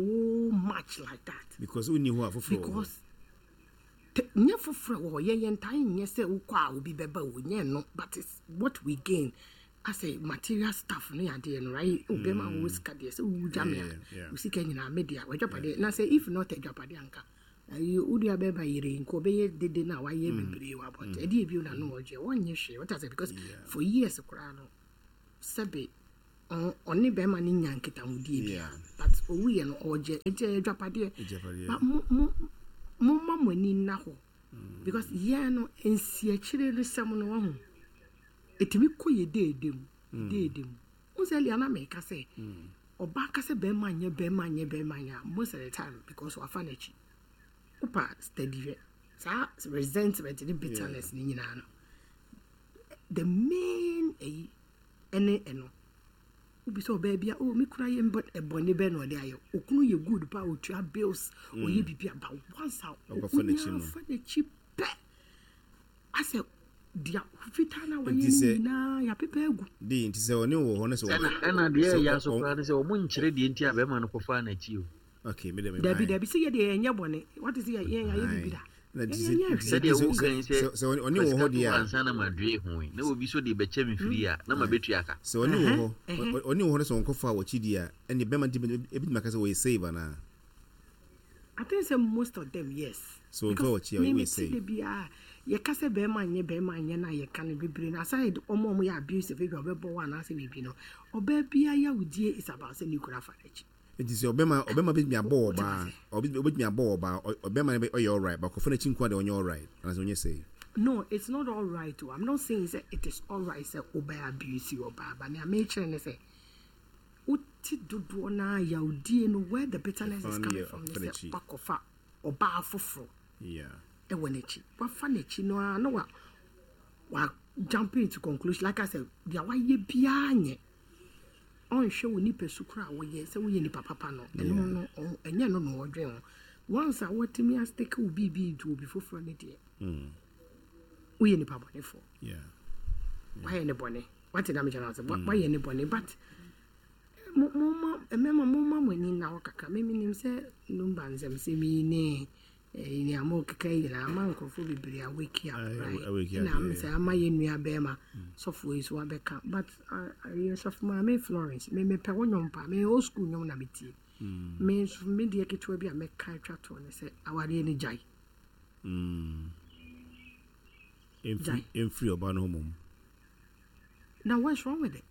much like that. Because wonni hɔ a foforɔ wɔ hɔ. Because te- nyɛ foforɔ wɔ hɔ, yɛn yɛn ntaa nyɛ sɛ wokɔ a obi bɛba o, nyɛ no, but it's what we gain asɛ material stuff no yɛ adeɛ no, right? O bɛrima a wɔwɔ sika deɛ, sɛ wowu gya me a, Yeah, yeah. wo sika nyinaa me dea, w'agyapadeɛ. Na sɛ if not agyapadeɛ anka ayi wo dua bɛrima yere nka ɔbɛyɛ dede no a wayɛ bebree wɔ abɔnten, ɛdeɛ bio na no ɔgye wɔnyɛ hwee. Wɔta sɛ because for years koraa no, sɛbe ɔn- ɔne bɛrima no nya nkitahodie bia, Yeah. but owuyɛ no ɔgye, nti ɛyɛ agyapadeɛ. Agyapadeɛ. But mo mo momma mo ani nna hɔ because yɛn no nsiakyire no sɛm no wahu ɛtumi kɔ yɛ deede mu deede mu. Wo sɛ lia na meka sɛ ɔbaa ka sɛ bɛrima nyɛ, bɛrima nyɛ, bɛrima nyɛ a, most of the time because wafa n'akyi. Wopa steady hwɛ saa resentment ne bitterness ne nyinaa no, the main ɛyi ɛne ɛno wobi sɛ ɔbaa bi a, oh, me kura yɛ mbɔ- ɛbɔne bɛ na ɔde ayɛ, okunu yɛ good pa, otua bills, ɔyɛ biribi aba once a Ɔkɔfa n'akyi no. onya fa n'akyi pɛ, asɛ deɛ fitaa na wayɛ Nti no sɛ- nyinaa yɛapepa agu. De nti sɛ ɔne wɔ hɔ no sɛ ɛna wɔ- ɛna deɛ sɛ ɛyɛ ɔ- aso ɔ- koraa ne sɛ ɔmo nkyerɛ deɛ nti a bɛrima no kɔfaa n'akyi o. Okay, me de me Dabi, dabi, sɛ yɛdeɛ yɛnyɛ bɔne wate sɛ yɛ- yɛn yɛayɛ biribi da. Na nti Yɛn- sɛ- yɛnyɛ nti hwee. Sɛdeɛ sɛ- wokan sɛ sɛ sɛ ɔne ɔne wɔ hɔ deɛ a ansa na madue ho yi na obi so de bɛkyɛ me firi a na mabɛtua ka. Sɛ ɔne wɔ hɔ Ɛhɛ, ɔ- ɔne wɔ hɔ no sɛ ɔnkɔfa wɔkyi di a, ɛne bɛrima nti ebitumi aka sɛ wɔyɛ save anaa? I think sɛ most of them, yes. So nfa Because wɔkyi a me wɔyɛ me save. ti de biara yɛka sɛ bɛrima nyɛ, bɛrima nyɛ na yɛka no bebree na aside ɔmo a ɔmo yɛ abusive, ebi a ɔbɛbɔ wɔ anaasɛ biribi no, ɔbaa biara yawudie is about sɛ ne kura afa n'akyi. Nti sɛ ɔbɛma ɔbɛma bɛtumi abɔ ɔbaa, ɔbɛ- ɔbɛtumi abɔ ɔbaa, ɔ- ɔbɛma no bɛ- ɔyɛ alright, but kɔfa n'akyi nko a deɛ ɔnyɛ alright anaasɛ ɔnyɛ save? No, it's not all right o. I'm not saying sɛ it is all right sɛ ɔbɛ abuse ɔbaa, but nea mekyerɛ ne sɛ wote dodoɔ naa yawudie no, where the bitterness is Ɛfa no coming yɛ from ne ɔfa sɛ n'akyi. wakɔfa ɔbaa foforɔ Yeah. ɛwɔ n'akyi, wafa n'akyi no ara na wa wa jump into conclusion like I said, deɛ wayɛ biara nyɛ, ɔnhwɛ wo nipa su kora a wɔyɛ sɛ woyɛ nipa papa no, ɛno no ɔn- ɛnyɛ no na ɔdwen ho. Once a wɔtumi astake wo biribi into obi foforɔ no deɛ, woyɛ nipa bɔnefoɔ. Yeah. Wayɛ ne bɔne, wate na mekyɛ no sɛ wa- wayɛ ne bɔne, but mo- momma mmarima, momma mo ani nna hɔ kakra. Memenim sɛ numba nsɛmsɛm yi ne eh, nea mokeka yi nyinaa ama nkurɔfoɔ bebree a wake up, Aye, right? awake up, Ɛna yeah. sɛ ama yɛ nua bɛrima sɔfoɔ yi so wabɛka, but ah, ɛyɛ sɔfo maame Florence, me mepɛ wo nnwom paa. Me old school nnwom na metie. Me nso me deɛ ketewa bi a mɛka atwa toɔ ne sɛ awareɛ no gyae. Mm. Ɛmfiri Gyae. ɛmfiri ɔbaa no ho mmom. Now what's wrong with it?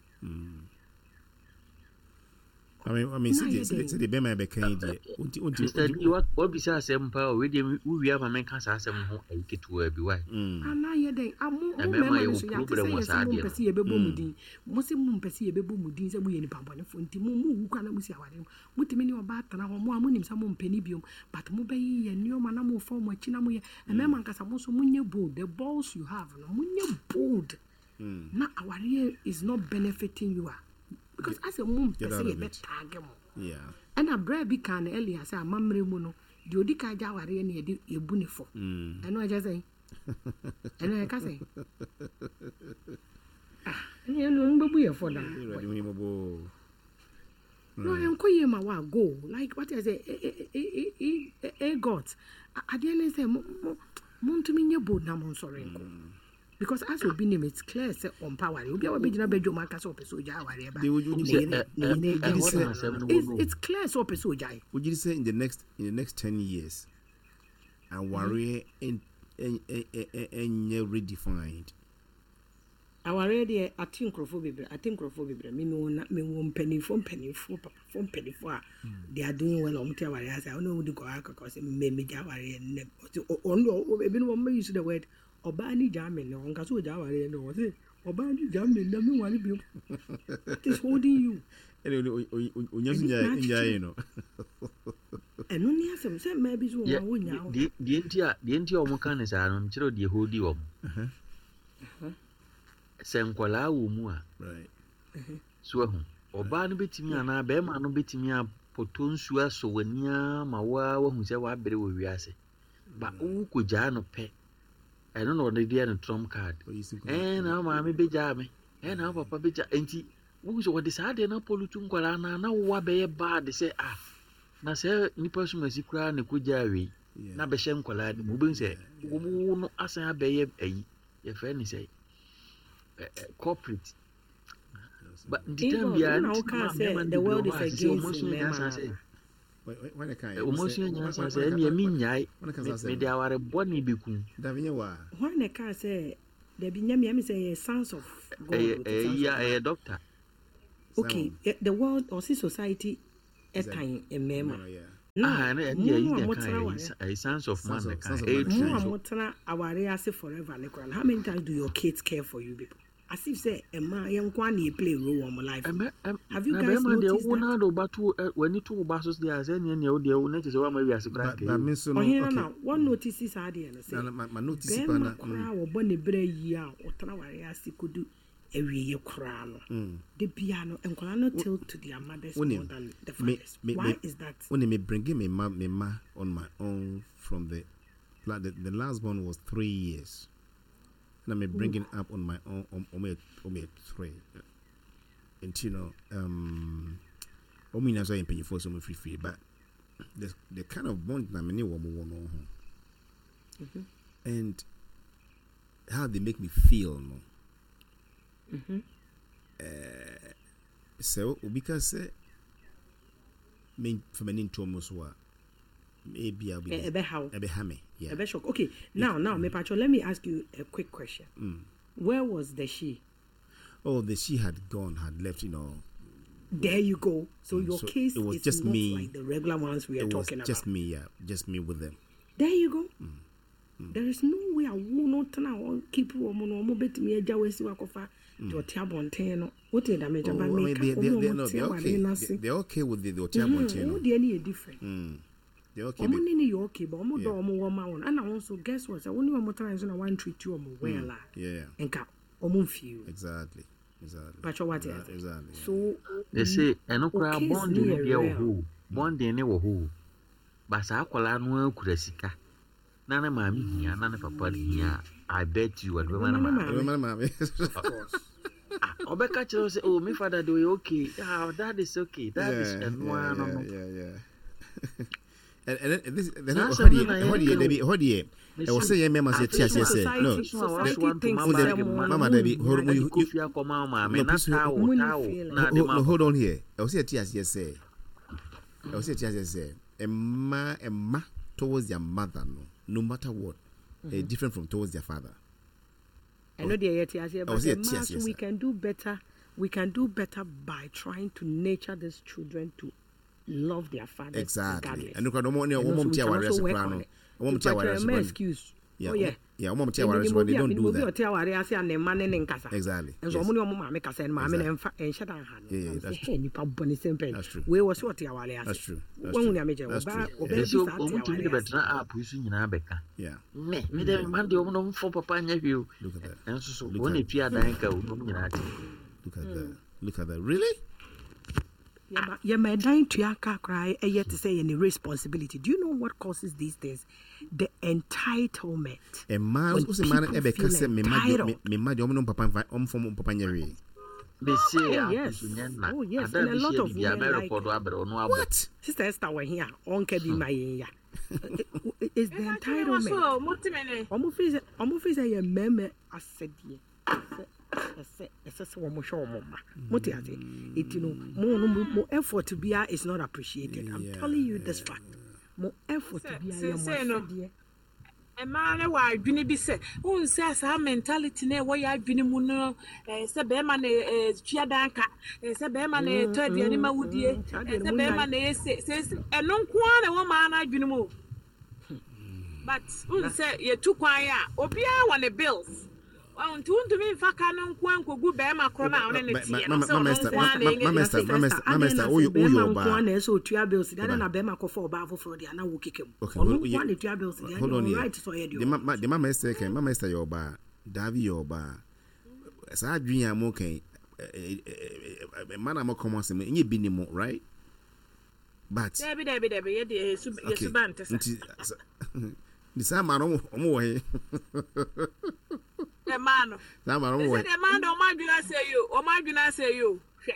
I mean, I mean, Na sɛdeɛ yɛ sɛdeɛ dɛn? sɛdeɛ bɛrima yɛ bɛka yi deɛ, wonti wonti Mr. D, wa- wabisa asɛm paa o. Wedeɛ wowie ama menka saa asɛm no ho ayi ketewa bi wae. Anaa yɛ dɛn? Ah, mo mo Na mmarima mmarima no yɛwɔ so yɛate problem sɛ wɔ yɛ saa sɛ adeɛ mompɛ sɛ yɛbɛbɔ mu din, mo sɛ mompɛ sɛ yɛbɛbɔ mu din sɛ moyɛ nipa bɔnefoɔ, nti mo mowu kora na mosi awareɛ mu, motumi ne ɔbaa tena hɔ, mo a monim sɛ mompɛ ne biom, but mobɛyɛ yɛ nneɔma na mofa mo akyi na moyɛ mmarima nkasa. Mo nso monyɛ bold, the balls you have no, monyɛ bold na awareɛ is not benefiting you a, because asɛ mompɛ Get sɛ out of it. yɛbɛtaage mo. Yeah. Ɛna berɛ bi ka no earlier sɛ amammerɛ mu no, deɛ ɔdi ka gya awareɛ ne yɛde yɛbu ne fɔ. Ɛno ɛkyɛ sɛn? Ɛno ɛka sɛn? Ah, ɛne ɛno ɔmo bɛbu yɛ fɔ daa. Awurade hu yɛn mmɔbɔ o. No, ɛnkɔ yie ma wa go like what I say, eh eh eh eh eh God, adeɛ ne sɛ mo mo montumi nyɛ bold na mo nsɔre nkɔ because as obi nim, it's clear sɛ ɔmpa awareɛ. Obi a wabɛgyina bɛdwom aka sɛ ɔpɛ sɛ ogya awareɛ ba They would- would ne you yere- eh, ne yere eh, gyina ɛhɔ no na asɛm no no. wɔ no. It's- it's clear sɛ ɔpɛ sɛ ogyae. Would you say in the next in the next ten years, awareɛ ɛn ɛn ɛn ɛn ɛnyɛ redefined? Awareɛ deɛ, ate nkurɔfoɔ bebree, ate nkurɔfoɔ bebree. Me mewɔ na mewɔ mpanimfoɔ mpanimfoɔ papafoɔ mpanimfoɔ a they are doing well. Ɔmo te awareɛ ase a, ɔno ɔmo di nkɔmɔ akɔkɔ sɛ mme megya awareɛ nnɛ. Ɔte ɔ- ɔno ɔ- ebinom ɔmo use the word ɔbaa ni gyaa me nnɛ, ɔnka sɛ ɔgya awareɛ nnɛ, ɔse ɔbaa ni gyaa me nnɛ, me nware bio. What is holding you? Ɛna onya so Ɛno na nyaa yi no. Ɛno ne asɛm sɛ mmaa bi so wɔ hɔ a wonyaa hɔ. Deɛ deɛ nti a deɛ nti a ɔmo ka ne saa no, mekyerɛ wo deɛ hodi wɔn sɛ nkɔlaa wɔ mu a Right. so ahu ɔbaa no bɛtumi anaa bɛrima no bɛtumi apɔtɔ nsuo asɔ w'ani ara ma woa wahu sɛ woabere wɔ wiase ba wokɔgyaa no pɛ. Ɛno na ɔde deɛ no trump card. Ɛɛ na wo maame bɛgyaa me, ɛɛ na wo papa bɛgya. Nti wohu sɛ wɔde saa adeɛ no apɔlutu nkwadaa no a, na wowɔ abɛyɛ bad sɛ ah, na sɛ nipa sumasi koraa na ɛkɔgyaa wei na bɛhyɛ nkwadaa no mu. Wobɛhu sɛ wo no asan abɛyɛ ayi, yɛfrɛ ne sɛ corporate. But nti time biara na woka sɛ the world is against mmarima. Wɔn asua nyansa sɛ ɛnneɛ mennyae, mede aware bɔne bɛkum. Hwan na ɛkaa sɛ dabi nyɛ me, ɛmi sɛ ɛyɛ sons of God. Ɛyɛ ɛyɛ ɛyɛ doctor. Okay, the world ɔsi society ɛtan mmarima. Na mo a motena aware, sons of man na ɛka. Mo a motena aware ase forever ne koraa. How many times do your kids care for you people? As if say Emma yɛn nko na play role wɔ mo life. Have you guys noticed that? Na de ba to wani to ba so deɛ sɛ neɛ neɛ wo deɛ wo na kyerɛ sɛ woama wiase koraa kɛyɛ. Ɔhene na wɔn notice saa deɛ no sɛ bɛrima koraa wɔbɔ ne berɛ yie a ɔtena ware ase kodu awieɛ koraa no, de bia no nkwadaa no tilt to their mothers more than the fathers. Why is that? When me bringing me ma me ma on my own from the the, the last one was three years. And I'm bringing up on my own on on on three. And you know, um, I mean, I'm paying for some free free, but the the kind of bond that many women want, and how they make me feel, no. Mm-hmm. Uh, so because me for me into almost what maybe I'll be a how a me. Yeah. A shock. Okay, now, now, me Pacho, let me ask you a quick question. Mm. Where was the she? Oh, the she had gone, had left, you know. There you go. So mm, your so case it was is just not me, like the regular ones we are it talking was just about. me, yeah. Just me with them. There you go. Mm. Mm. There is no way I will not now keep woman or mobile me a jawesi wakofa. What did I mean? Oh, I mean, they, they, they, no, they're okay. They, they're okay with the, the mm-hmm. Oh, they're different. Mm. They're okay. Omo nini you okay, but omo do omo wo ma won. And also guess what? Only one more time so one treat you omo well. Yeah. Enka omo feel. Exactly. Exactly. But what exactly. Exactly. So they say eno kra bonding ne dia wo ho. Bonding ne wo ho. Ba sa akola no akura sika. Na na maami hia, na na papa hia. I bet you what ma ma ma. Of course. Obeka chiro say, "Oh, me father do okay. Ah, dad is okay. Dad is eno yeah, no. Yeah, yeah. And and this then how do you how do you Debbie how do you I was saying me say tia say no mama Debbie hold you no hold on here. I was say tia say I was say tia say emma emma towards their mother no no matter what, mm-hmm. uh, different from towards their father. I know they tia say, but the we can do better. We can do better by trying to nurture these children to love their fathers. Exactly. And look at no more woman tia ware soprano. Woman tia ware soprano. Excuse. Yeah. Oh yeah. Yeah, woman tia ware soprano. They don't do that. Tia ware ase and man ne nkasa. Exactly. And so omo ne omo maame kasa and maame na mfa enhye dan ha no. Yeah, that's true. Nipa boni sempe. That's true. We wo so tia ware ase. That's true. Won hu na me je. Oba oba bi sa tia ware. Omo tumi de betra app yi so nyina beka. Yeah. Me me de man de omo no mfo papa nya hwe o. Look at that. And so so won e tua dan ka o no nyina ate. Look at that. Look at that. Really? Yeah, my dying to cry yet to say any responsibility. Do you know what causes these things? The entitlement. A man who's a man ever can me me me papa om from papa nyere. They say oh, yes. Oh yes, and a lot of women like what? Sister Esther were here. Onke be my ya. It's the entitlement. Omo face omo face ye meme asedi. Ɛsɛ sɛ wɔn hwɛ wɔn mma mo te ase eti no mo no mo effort bia is not appreciated. I'm yeah, telling you yeah, this fact. Mo effort bia yɛ mo asɛdeɛ. Ɛmaa ne wɔ adwene bi sɛ wɔn sɛ saa mentality na ɛwɔ yɛ adwene mu no ɛɛ sɛ bɛrima na ɛɛ tua dan ka ɛɛ sɛ bɛrima na ɛtɔ aduane ma wudie ɛɛ sɛ bɛrima na ɛsɛ sɛ ɛno nko ara na ɛwɔ maa n'adwene mu o but wɔn sɛ yɛtu kwan a obiara wɔ ne bills. Nti wontumi mfa ka no nko ankogu bɛrima korɔ no a wone ne teɛ no sɛ ɔno nko ara na ɛnyɛ Mama Esther, Mama Esther, woyɛ bɛrima ɔbaa. nko ara na ɛsɛ otua bills deɛ na bɛrima kɔfa ɔbaa foforɔ deɛ na wo keka mu. Ɔno nko ara na otua bills deɛ Hold on ɔno here. right sɛ ɔyɛ deɛ The ma the Mama Esther kan, Mama Esther yɛ ɔbaa, Davi yɛ ɔbaa. Saa adwene a mo kan, mma na mo kɔn mo asɛm, ɛnyɛ bi ne mo, right? But Dabi dabi dabi yɛ deɛ yɛsu okay, yɛsu ba nte sa. nti Nti saa mmaa no ɔmo ɔmo wɔ he? Mmaa no. Saa mmaa no ɔmo wɔ he? Sɛ mmaa no ɔmo adwene asɛ yi o, ɔmo adwene asɛ yi o. Hwɛ.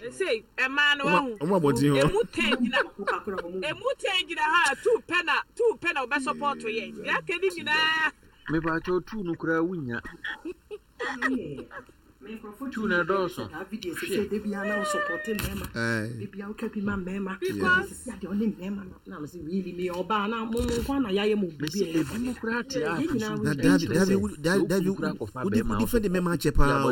Ɛsɛ mmaa no wahu. Ɔmo abɔnten hɔ. Emu ten gyina. Emu ten gyina ha two pɛ na two pɛ na ɔbɛ support yɛ. Deɛ aka ne nyinaa. Mepakyɛw two no koraa wunya. Two na ɛdɔɔso. Mesi ebi mu koraa te a so. Na dabi dabi dabi wodi wodi fɛ de mɛma akyɛ paa o.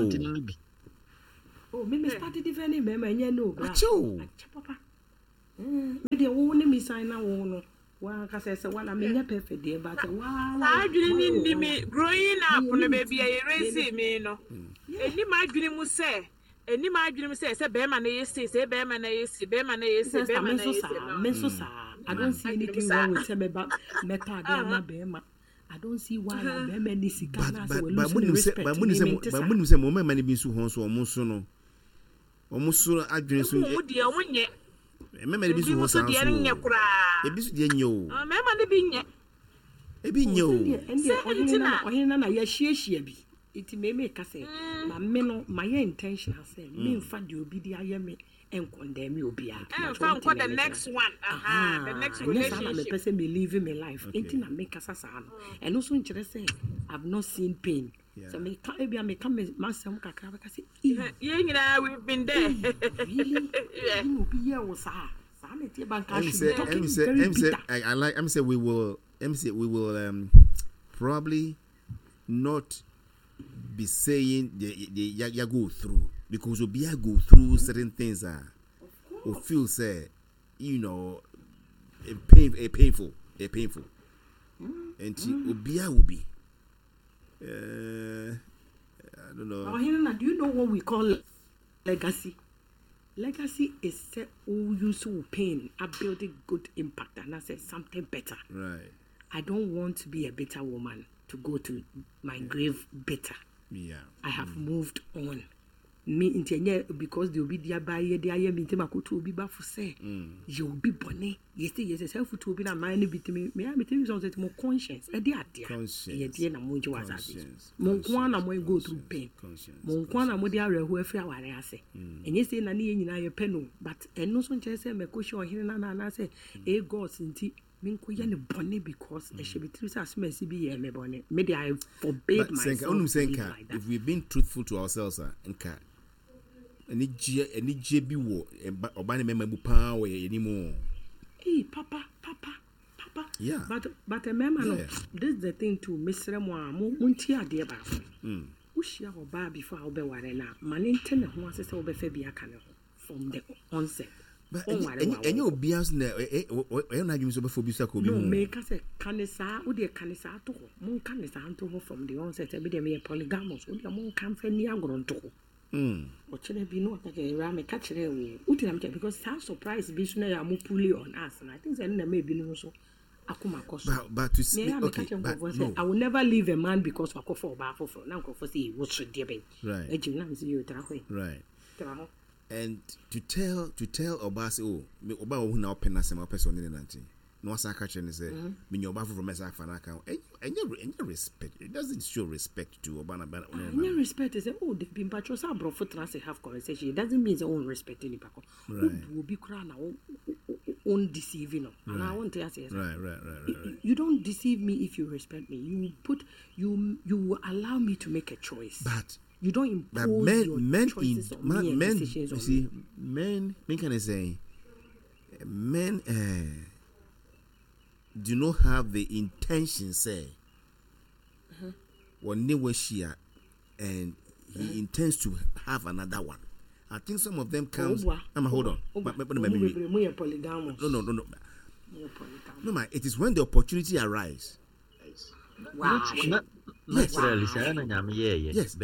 Oh, me me started defending mɛma ɛnyɛ no bra. Akyɛ o. Akyɛ papa. Me deɛ wo ne me sign na wo no. Wa kasa sɛ wala menyɛ perfect deɛ but wa. Saa adwene ni ni mi growing up no baabi a yɛresi mi no. Ɛni ma adwene mu sɛ ɛni ma adwene mu sɛ sɛ bɛrima na yɛ se sɛ bɛrima na yɛ se bɛrima na yɛ se bɛrima na yɛ se. Me nso saa. I don't see anything wrong with sɛ mɛba mɛtɔ adeɛ ama bɛrima. I don't see why bɛrima ni sika na sɛ wɔn lose respect. But munim sɛ but munim sɛ mo mmarima ni bi nso hɔn so ɔmo nso no ɔmo so adwene so. Ɔmo deɛ ɔmo nyɛ. Mmarima ni bi nso hɔn saa nso. Ebi nso deɛ nyɛ o. Mmarima ni bi nyɛ. Ebi nyɛ o. Sɛ ɔhene na ɔhene na na yɛhyiahyia bi. Nti mɛmɛ ka sɛ ma me no ma yɛ intentional sɛ memfa deɛ obi de ayɛ me nkɔndɛn mi obiara. Ɛnfa nkɔ the next one. Aha, the next relationship. Ɛnyɛ saa na mepɛ sɛ me live my life. Nti na mekasa saa no. Ɛno nso nkyerɛ sɛ I've not seen pain. Sɛ meka ebi a meka m'asɛm kakra bɛka sɛ. Yɛn nyinaa we've been there. Really? Ɛna obi yɛ wo saa. Saa na ɛteɛ banka should be talking very bitter. I like. I'm say we will. I'm say we will um, probably not be saying they they ya, ya go through because we go through certain things ah uh, or feel say you know a pain a painful a painful mm. and mm. obia will be uh, I don't know. Oh, Helena, do you know what we call legacy? Legacy is say oh use pain I build a good impact and I say something better. Right. I don't want to be a bitter woman to go to my grave bitter. Yeah. I have mm. moved on. Me nti because they will be there by the I am inti makoto obi ba fo say you will be bone. Yes yes self to obi na man bi timi me am timi so mo conscience e dey ade. E dey na mo nji wasase. Mo nko na mo go through pain. Mo nko na mo dey areho afri aware ase. Enye say na ne ye nyina ye pe no but eno so nche say me ko hye ohene na na na say e God nti minko ye ne bone because e she be tiri say asomasi bi ye me bone. Me dey I forbade myself. Senka, if we've been truthful to ourselves nka anigye anigye bi wo oba ne mema bu pa wo ye ni Hey papa papa papa. Yeah. But but a mema no this is the thing too mesre mo a mo nti ade ba. Mm. Wo hia oba before wo be ware na ma ne nte ne ho ase se wo be fa bi aka ne ho from the onset. But enye obi as na e na adwumi so be fa obi so aka obi ho. No me ka se kanisa wo de kanisa to ho. Mo kanisa nto ho from the onset e be de me polygamous wo de mo kan fa ni agoro nto ho. Mm. Ochene bi no atake ra me ka kire wo uti na me because some surprise bi so na ya mo pull on us and I think say na me bi no so akoma koso. But but to see okay but no. I will never leave a man because wakofo oba afoforo na nkrofo say wo so de ben. Right. Ejim na me say you tra ho. Right. Tra ho. And to tell to tell oba say oh me oba wo na open asem open so ne nante. No asa ka kire ne say me nya oba afoforo me say afa na ka. Enye respect. It doesn't show respect to oba na ba. Enye respect is oh the bimpa cho sa brofo trans have conversation. It doesn't mean say own respect any pako. Obu obi kra na own deceiving no. And I want to say right, right, right, right, right. You don't deceive me if you respect me. You put you you will allow me to make a choice. But you don't impose but men, your men choices in, on man, me and men, decisions you on see, me. Men, men can I say, men uh, do not have the intention, say, mm-hmm. share, and he mm-hmm. intends to have another one. I think some of them comes. I'm hold on. No, no, no, no. No, ma. It is when the opportunity arises. Wow. Naturally, yes.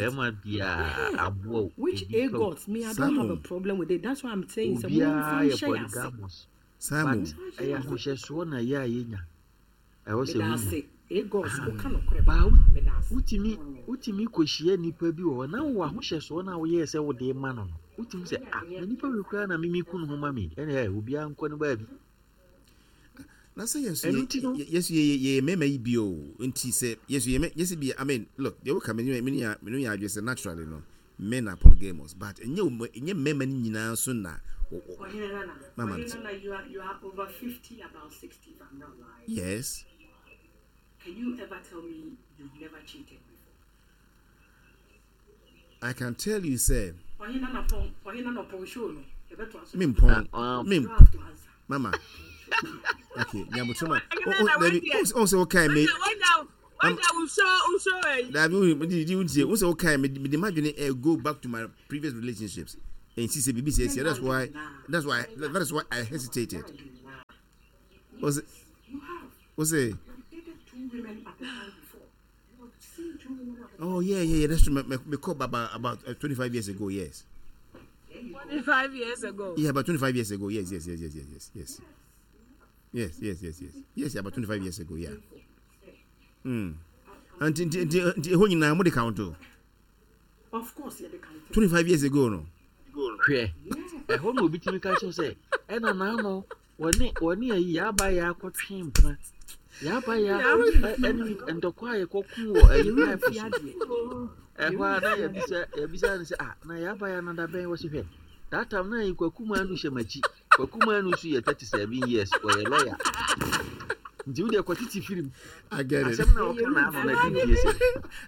Which a gods me, I don't have a problem with it. That's why I'm saying. Simon, Utimi utimi kwehie nipa bi wo na wo ahohyeso na wo ye se wo de ma no no utimi se ah na nipa we kura na mimi kunu ho ma me ene eh obi ankɔ no ba bi. Na sɛ yɛn nso Ɛno yɛ nti no yɛ yɛn nso yɛ yɛ mmarima yi bi o nti sɛ yɛn nso yɛ mɛ yɛsi bi I mean look deɛ woka me ne me ne me ne yɛ adwene sɛ naturally no men are polygamous but ɛnyɛ wɔn ɛnyɛ mmarima no nyinaa nso na wɔ wɔ Ɔhene Nana, mama Ɔhene nti Nana, you are you are over fifty, about sixty, if I'm not lying. yes Can you ever tell me you've never cheated before? I can tell you sɛ Ɔhene Nana pɔn, Ɔhene Nana pɔn show no. Yɛbɛto aso me da. mpɔn ah, um, me You don't have to answer. mama okay nyabotoma Ɔhene o o Nana dabi wei o deɛ o sɛ wokae me wanya wanya am wanya wosɔ wosɔ ɛyi. dabi o di di ntie o sɛ wokae me me de ma dwene eh, go back to my previous relationships and see sɛ bibi sɛ ɛsi that's why that's why that is why I hesitated o sɛ Yes, you have. o sɛ. You dated two women at a time before. You have seen two women at a Oh time yeah, before. yeah, yeah. That's true. Me, me, me called about about uh, twenty-five years ago. Yes. There you go. Twenty five years ago. Yeah, about twenty-five years ago. Yes, yes, yes, yes, yes, yes, yes, yes, yes, yes, yes, yes. Yeah, about twenty-five years ago. Yeah. Mm. And nti nti nti ɛhɔ nyinaa mo de count o. Of course, you're the country. twenty-five years ago no. hwɛ ɛhɔ na obi tumi ka kyerɛ sɛ ɛna naano wɔne wɔne ayi yɛaba yɛ akɔtwe mpena yɛaba yɛ Yeah. ɛne ntɔkwa a yɛkɔko wɔ ayi Yɛwerɛ pipe mfi so adeɛ. ɛhɔ Yɛwerɛ a na mfi adeɛ. yɛbisa yɛbisa no sɛ ah na yɛaba yɛ anada bɛn wɔ se hwɛ that time na yi kwaku maa no hyɛ m'akyi kwaku maa no nso yɛ thirty seven years ɔyɛ lawyer nti wo deɛ kɔtete firim I get it. asɛm na ɔka Yɛwerɛ na ano mfi na Ɛmaa di ne die bi sɛ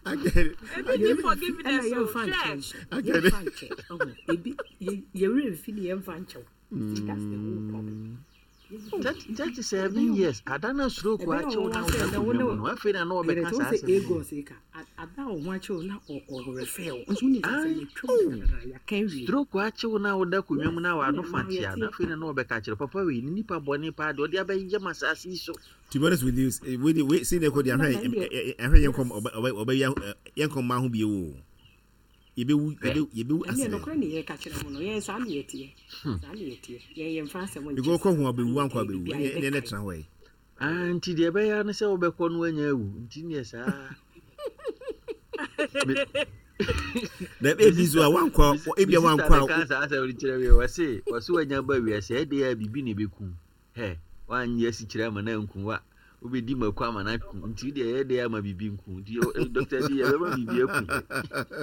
I get it. I ebi get ni it. Yɛwerɛ mfi ɛna forgiveness o yɛmfa nkyɛ hwɛ. nso. I get it. Yɛmfa nkyɛ. Ɔho. Ebi yɛ- yɛwerɛ mfi ne yɛmfa nkyɛ wo. See, that's the whole problem. Yɛwerɛ mfi. thirty seven years ada na stroke Ɛbɛyɛ akyew ɔwɔ na sɛ woda ɛnɛ wo akonnwa ne mu no afei na na ɛyɛ ɔbɛka sɛ wo saa sɛ asɛm no Agos yi ka ada wo ho akyɛw na ɔrefɛ wo nso wonim sɛ asɛm Ai, yɛtwam dadadada yɛaka awie. stroke akyew na woda akonnwa mu na Yes, wano ɛna fa mmaa tea na yɛte afei na na ɔbɛka kyerɛ papa wei ne nipa bɔne paa deɛ ɔde abɛyɛ ma asase yi so To be honest with you, eh, we we see the code. na I na deɛ heard yɛn kɔm yes ɔbɛ ɔbɛ ɔbɛ yɛn kɔm maa ho bi o. Yɛbɛwu hwɛ yɛbɛ yɛbɛwu ɛneɛ accident. nokorɛ ne yɛka kyerɛ mo no yɛn saa ne yɛteɛ saa ne yɛteɛ yɛn yɛmfa asɛm nkyɛ Because saa kɔ ho saa abɛwu ne ankɔ yɛteɛ abɛwu. biribiara Ɛnɛ ɛnɛ yɛbɛkae tena hɔ yi. Ah, nti deɛ ɛbɛyɛ ne sɛ wobɛkɔ no woanya awu nti neɛ saa me Na me ebi nso sister a wankɔ me si- ebi me a sister wankɔ na a ka saa asɛm no kyerɛ me wɔse wɔse woanya ba wiase ɛdeɛ a biribi na ɛbɛku hɛ woanyɛ asikyerɛ ama no anku wa wobɛdi mako ama no aku nti deɛ ɛyɛ deɛ ama biribi nku nti dɔkta di yɛbɛma biribi aku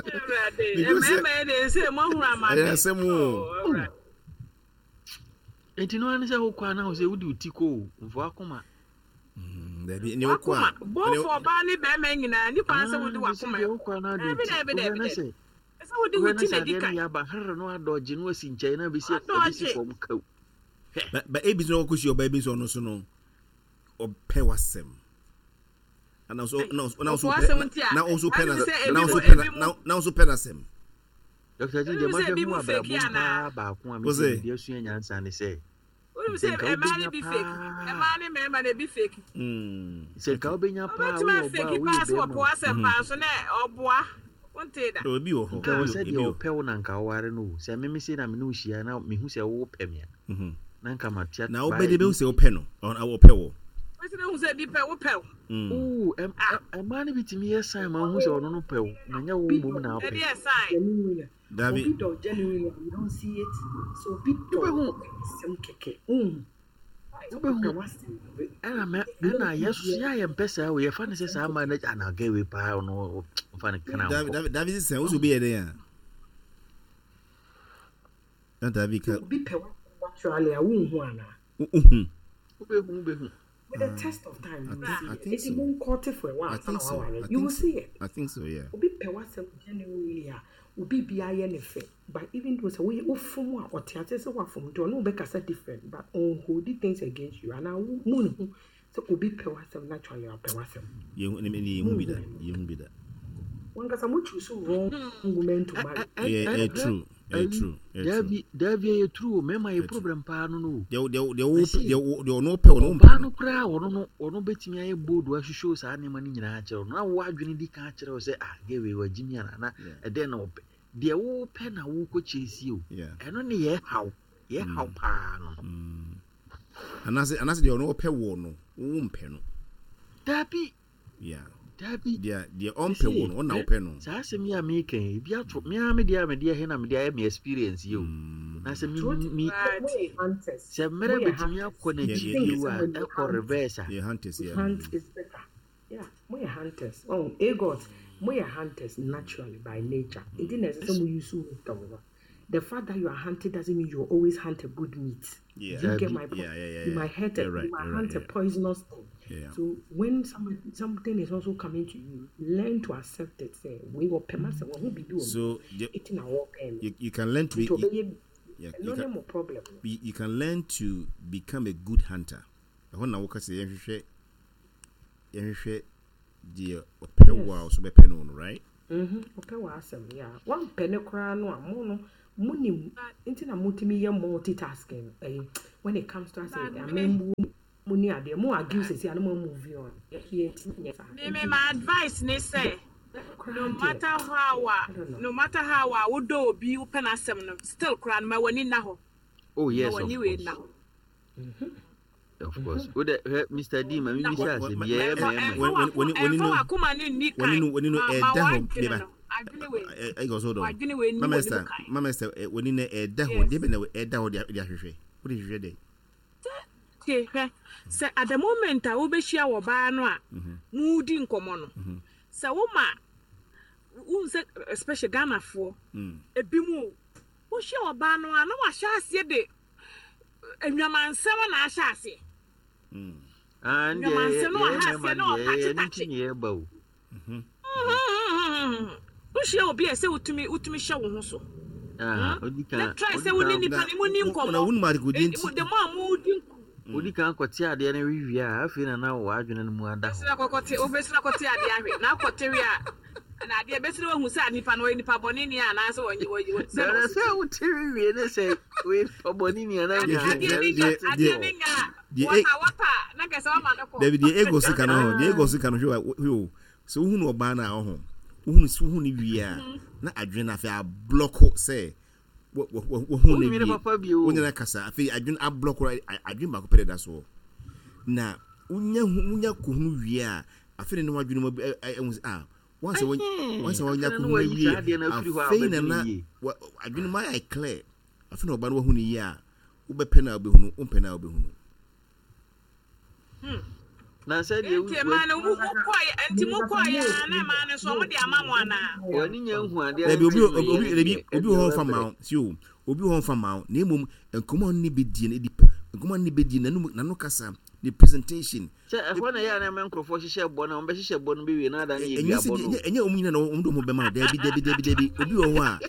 Awurade because mmarima yi de sɛ moahunu ɛyɛ amane. asɛm o. Oh, Awurade. nti no ane sɛ wokɔ a na wo sɛ wode wo ti kɔ o mfa wakoma Dabi ne wokɔ Wakoma a ne both ɔbaa ne bɛrima nyinaa nipa sɛ wode Ah, nti sɛ wakoma deɛ ɛkɔ. wokɔ a na wode wo Dabi ti dabi wohwɛ dabi na dabi. sɛ Sɛ wode wo wohwɛ na ti sɛ na di adeɛ no kan. yɛ aba herre no adɔgye no asi nkyɛn na abɛsi abɛsi Adɔgye. fam kaw hwɛ ba ba ebi nso ɔkɔ si ɔbaa ebi nso ɔno so no ɔpɛ wasɛm. Ana nso na nso na Ɔpɔ nso pɛ asɛm nti a na nso pɛ na ade sɛ na ebi nso mo pɛ ebi na mo na nso pɛ n'asɛm. dɔkta gye ebi deɛ mo sɛ mahwɛ ebi hu mo abrabɔ fake mu anaa. paa baako a O mesɛ sɛ mede asua nyansa ne sɛ Wonim sɛ sɛ nka mmaa wobɛnya no bi fake. paa Mmaa ne mmarima na ebi fake. mm sɛ nka okay wobɛnya paa Wobɛtumi woyɛ ɔbaa afake a woyɛ paa sɛ bɛrima wɔpɔ o asɛm paa so na ɔboa. Wontee da. ebi wɔ hɔ nka wɔ ebi sɛ wɔ deɛ ebi wɔ ɔpɛ wo na nka woware no o sɛ meme sei na mene wo hyia na mehu sɛ wowopɛ me a mhm na nka matea na baɛ wobɛ de bɛ sɛ wopɛ no ɔno ɔpɛ wɔ. Wosi na hu sɛ bi pɛ wopɛ wo. Mm oo ɛm- Ah, ɛ- ɛmmaa no bi tumi yɛ sign ma wohu sɛ ɔno no pɛ wo na nyɛ wo Obi mmom dɔ na wopɛ ɛde yɛ sign. genuinely Dabi obi dɔ genuinely you don't see it so obi dɔ wobɛhu ɔpɛ asɛm kɛkɛ wohu ɔpɛ wobɛhu w'asɛm ɛna mɛ ɛna yɛso yɛ a yɛmpɛ saa o yɛfa no sɛ saa ma no ana gɛ wei paa ɔno ɔmfa no kana dabi nkɔ dabi dabi sisan o sɛ obi yɛ dɛ yan. Na dabi ka obi pɛ w'asɛm naturally a wonhu anaa ohun. wobɛhu wobɛhu with the test of time I you will think see I it think eti so. mo nkɔte for a while I ansa na think so. waware I you will think so. see it I think so. Yeah. obi pɛ w'asɛm genuinely a obi bi ayɛ ne fɛ but even though sɛ woyɛ wofom a ɔte ase sɛ wafom nti ɔne wo bɛkasa different but ɔnhold things against you anaa wo mu ne ho sɛ obi pɛ w'asɛm naturally a ɔpɛ w'asɛm Yehu ne ne yehu bi da. Yehu bi da. wankasa mo choose wrong woman to marry Yeah, eh, true. Eh, ayi true. Eh, true. daabi daabi ɛyɛ true o mmarima Eh, yɛ true. problem paa no no o Deɛ deɛ deɛ wo mɛsi deɛ wo deɛ ɔno pɛ ɔno mpɛ ɔbaa no. no koraa ɔno no ɔno bɛtumi ayɛ bold ahwehwɛ wo saa nneɛma no nyinaa kyerɛ wo na wo adwene di kan kyerɛ wo sɛ ah gɛwei wagye mi ana na Yeah. ɛdɛn na ɔpɛ deɛ wopɛ na wokɔ kyɛsie o Yeah. ɛno ne yɛ haw yɛ haw Mm. paa no no Mm. Anaasɛ anaasɛ deɛ ɔno ɔpɛ wɔ no wo mpɛ no. daabi Yeah. Dabi. Deɛ deɛ ɔmpɛ wo no, ɔna wopɛ no. Saa asɛm yi a meka yi, ebi ato me ara me deɛ a mede ɛhe na mede ayɛ me experience yi o. Na sɛ me me sɛ mmerɛ bɛtumi akɔ n'akyi bio a ɛkɔ reverse a. Yɛ hunters yeah. Hunt is better. Yeah, mo yɛ hunters. Oh, Agot, mo yɛ hunters naturally by nature. Nti na ɛsɛ sɛ mo use wisdom no. The fact that you are hunting doesn't mean you always hunt a good meat. Yeah. Do you get my point? Yeah, yeah, yeah. You might hunt a, You're right, you might you're hunt right, a poisonous thing. Yeah. So when some, something is also coming to you, learn to accept it. Say, we will pay myself. We be doing. So the, It's in our you, you can learn to be you, yeah, you No can, more problem. you, you can learn to become a good hunter. Ɛhɔ na woka sɛ yɛnhwehwɛ yɛnhwehwɛ deɛ ɔpɛ wo a ɔso bɛpɛ no no, right? Mm-hmm. Ɔpɛ w'asɛm, yeah. Wampɛ ne koraa no a mo no monim nti na motumi yɛ multitasking ɛyi when it comes to asɛ amammuo mu ne adeɛ mo argue sɛsi a na mo move on yɛ ntumi nyɛ saa. Me me my advice ne sɛ no matter how a no matter how a wodɔ obi wopɛ n'asɛm no still koraa no ma w'ani nna hɔ. Oh yes, ma of w'ani wei course. nna hɔ. Of course. Wo de hwɛ Mister D ma mi bisa asɛm bi yɛyɛ mmarima. Ɛmfa w'akoma ne nni kan. W'ani no w'ani no Ma ma ɛda hɔ w'adwene meba. no adwene wei Ɛ ɛ hold on. w'adwene wei nni Mama w'anim Esther, kan. Mama Esther, w'ani no ɛda hɔ. Yes. Deɛ bɛn na ɛda hɔ de de ahwehwɛ. Wode hwehwɛ dɛ. Tie hwɛ sɛ at the moment a wobɛhyia wɔ baa no a mudi nkɔmmɔ no sɛ woma wohu sɛ especially Ghanafoɔ ebi mu o wohyia wɔ baa no a na wahyɛ aseɛ de nnwamansɛm na ahyɛ aseɛ. Ah, ndeɛ Nnwamansɛm na yɛyɛ wahyɛ mmarima aseɛ na deɛ yɛyɛ ɔtakyetakye. ne nti ne yɛba o. Wohyia obi a ɛsɛ wotumi wotumi hyɛ wo ho so. Ah, odi Na kan try odi sɛ wo ne kan nipa no mu ni Na nkɔmmɔ. wonim adekodeɛ nti. The more a mudi nkɔmmɔ odi kan kɔte adeɛ no wie a afei na na w'adwene no mu ada hɔ. bɛsira kɔkɔte wobɛsira kɔte adeɛ ahwɛ na akɔte wie a na adeɛ bɛsira wahu sɛ nipa no ɔyɛ nipa bɔne ni anaasɛ wɔnyɛ wɔyɛ sɛ na Na ɔsi sɛ wote wie ne sɛ wei ɔbɔne ni anaa Deɛ- adeɛ ne deɛ- nya deɛ- adeɛ ne nya deɛ- wɔta wɔta na kɛsɛ wama no kɔ. Dabi deɛ ego sika no ho deɛ ego sika no hwɛ wa hwɛ o sɛ wohunu ɔbaa no a ɔho wohunu sɛ wohunu no wie a na adwene no afei ablɔko sɛ wo- wo- wo- wohunu no Wonwene wie papa bio o. wonyina kasa afei adwene ablɔko a- adwene baako pɛ deda soɔ na wonya hu- wonya kohunu wie a afei ne wadwene mu ɛ- ɛ- ɛhu sɛ ah once wɔn once wɔnya Afei na kohunu wayi wie saa adeɛ no afiri hɔ a afei na wobɛdwene na yie. wa- adwene mu ayɛ clear afei na ɔbaa no wahunu yie a wobɛpɛ no a wobɛhunu wompɛ no a wobɛhunu. Na sɛ deɛ Nti mmaa no mo kɔɛ nti mo kɔɛ a na mmaa no nso ɔmo de ama mo anaa. w'ani nya nhu adeɛ Dabi no obi nti obi obi no dabi yɛ obi wɔ hɔ deɛ mfa ma wo si o obi wɔ hɔ mfa ma wo na emom nkɔmɔ a ɔne ne bɛdie no edi nkɔmɔ a ɔne ne bɛdie no n'ano n'ano kasa ne presentation. Sɛ ɛhɔ na ɛyɛ a na ɛma nkurɔfoɔ hyehyɛ bɔ no a wɔbɛhyehyɛ bɔ no bɛwie na ada no yɛ Ɛnyɛ sɛ duabɔ no. ɛnyɛ ɛnyɛ ɔmo nyinaa na ɔmo de ɔmo bɛma wo dabi dabi dabi dabi obi wɔ hɔ a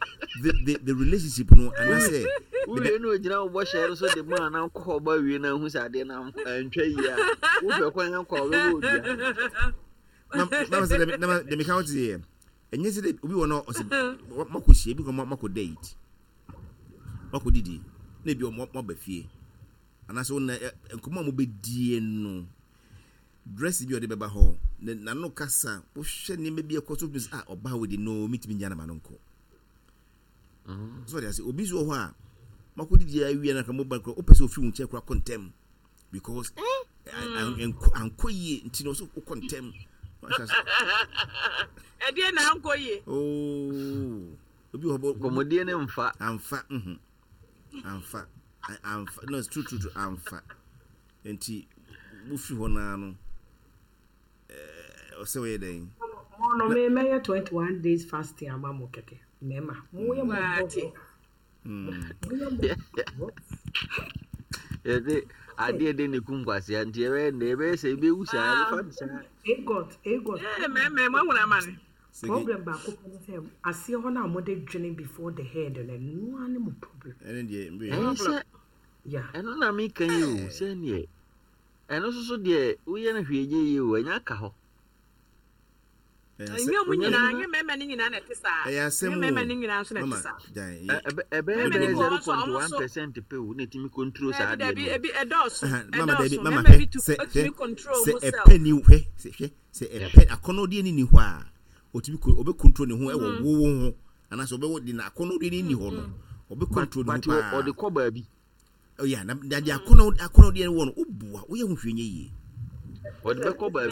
the the the relationship no anaasɛ Wowie na ogyina wo bɔhyɛ no so de ma na wokɔ hɔ ba wie na ahu sɛ adeɛ no antwa yie a wopɛ kwan akɔ a wobɛbɔ odua. na na sɛ dɛmi na dɛmi ka wote yɛ ɛnyɛ sɛ de obi wɔ no ɔsɛ mako hyia ebi kɔ mako date mako didi na ebi ɔmo aba fie anaasɛ wɔn nkɔmɔ a mo bɛdie no dress bi a ɔde bɛba hɔ ne n'ano kasa wohwɛ nneɛma bi a ɛkɔ so bi sɛ ah ɔbaa wo de no mitumi nya na ma no nkɔ so ɔde ase obi nso wɔ hɔ a mako didi awie na ka mo ba kora wopɛ sɛ ofi wo nkyɛn kora kɔ ntɛm because ankɔ ankɔ yie nti na ɔsɛ wokɔ ntɛm. Ɛdeɛ na ankɔ yie. Oh, obi wɔ hɔ bɔ Nkɔmmɔdie ne mfa. amfa mhm amfa A- amfa no, it's true true true amfa nti wofiri hɔ naa no ɛɛ ɔsɛ wɔyɛ dɛn. Mo no me mɛyɛ twenty one days fasting ama mo kɛkɛ mmarima mo yɛ mo Waate. bɔ mo yɛ mo Yɛde adeɛ de ne kum kwasea nti yɛbɛyɛ nnɛ yɛbɛyɛ sɛ yɛbɛwu saa yɛbɛfa no saa. Agot Agot Ee mɛmɛ mo ehun ama ne. Sɛ problem baako pɛ ne sɛ aseɛ hɔ no a mode dwene before the head no ɛno ara ne mo problem. ɛne deɛ mbɛ Ɛyɛ sɛ Yeah. ɛno na meka yi o sɛneɛ ɛno nso so deɛ woyɛ no hwee nyɛ yie o ɛnyɛ aka hɔ. Ɛnyɛ ɔmo nyinaa ɛnyɛ mɛmɛ ne nyinaa na ɛte saa. ɛyɛ asɛm Ɛnyɛ o mɛmɛ ne nyinaa nso na ɛte mama saa. gyan Ɛ- ɛbɛ- ɛbɛyɛ Mɛmɛ bɛyɛ ne bi wɔ zero hɔ nso point ɔmo one nso percent pɛ o na ɛtumi control saa dabi adeɛ dabi no. ebi ɛdɔɔso Aha, mama dabi ɛdɔɔso mama mɛmɛ bi hwɛ tu sɛ otumi hwɛ control sɛ mo self. ɛpɛ ni hwɛ sɛ hwɛ sɛ ɛpɛ akɔnɔdeɛ ni ni hɔ a otumi ko ɔbɛ control ne ho ɛwɔ wo wo ho anaasɛ ɔbɛ de na akɔnɔdeɛ ni ni hɔ no ɔbɛ But control ne ho but paa ɔde kɔ baabi. ɔyɛ na na de akɔnɔ akɔnɔdeɛ wɔ no ɔbua woyɛ ho hwɛ nyɛ yie. Ɔde bɛkɔ baabi.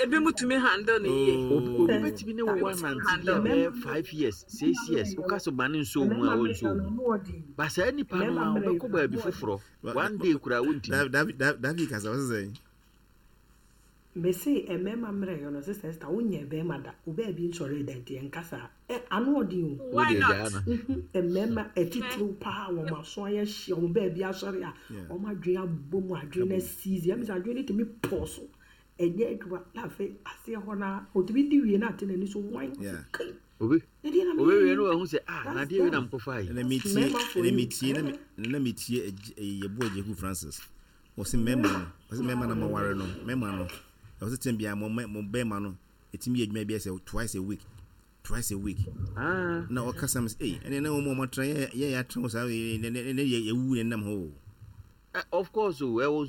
Ebi mu tumi handle ne yie. Obi obi bɛtumi ne wo anante bi a bɛyɛ five years, six years, woka sɛ ma ne nso mu a, ɔnso mu ba. Saa nipa no a wobɛkɔ baabi foforɔ, one day koraa wontumi. David, David kasa, wɔsɛ sɛ Mese mmarima mmerɛ yɛ no, Sister Esther, wonyɛ bɛrima da wo baabi nsɔre da, nti ɛnka ɛ ano ɔden o. Why Wode not? gyaa no. Wohu mmarima atitiriw paa, wɔn aso ayɛ hyia, wɔn baabi asɔre a, Yeah. wɔn adwene abɔ mu, adwene no asiizi ɛmi sɛ adwene no tumi pɔ so ɛnyɛ adwuma, na afei aseɛ hɔ na otumi di wie na ate n'ani so wan. Yeah. Kai. Obi Ɛdeɛ na obi meyɛ wie yi. no, wahu sɛ, ah, That's nadeɛ wei na them. mkɔfa yi. Ɛna metie Mmarima for ɛna you. metie na me- na metie Agye- ɛyɛ yɛboa Agyeku Francis, ɔsɛ mmarima no, ɔsɛ mmarima no maware no, mmarima no ɛwɔ sɛ tɛm biara mo mo bɛrima no ɛtumi yɛ adwuma bi sɛ twice a week, twice a week. Ah. Na ɔkasa m sɛ ei, ɛne na wɔn a wɔatena yɛ yɛ yɛatena hɔ saa, ne ne ne yɛ yɛwu ne nam hɔ o. Eh, of course o, ɛwɔ.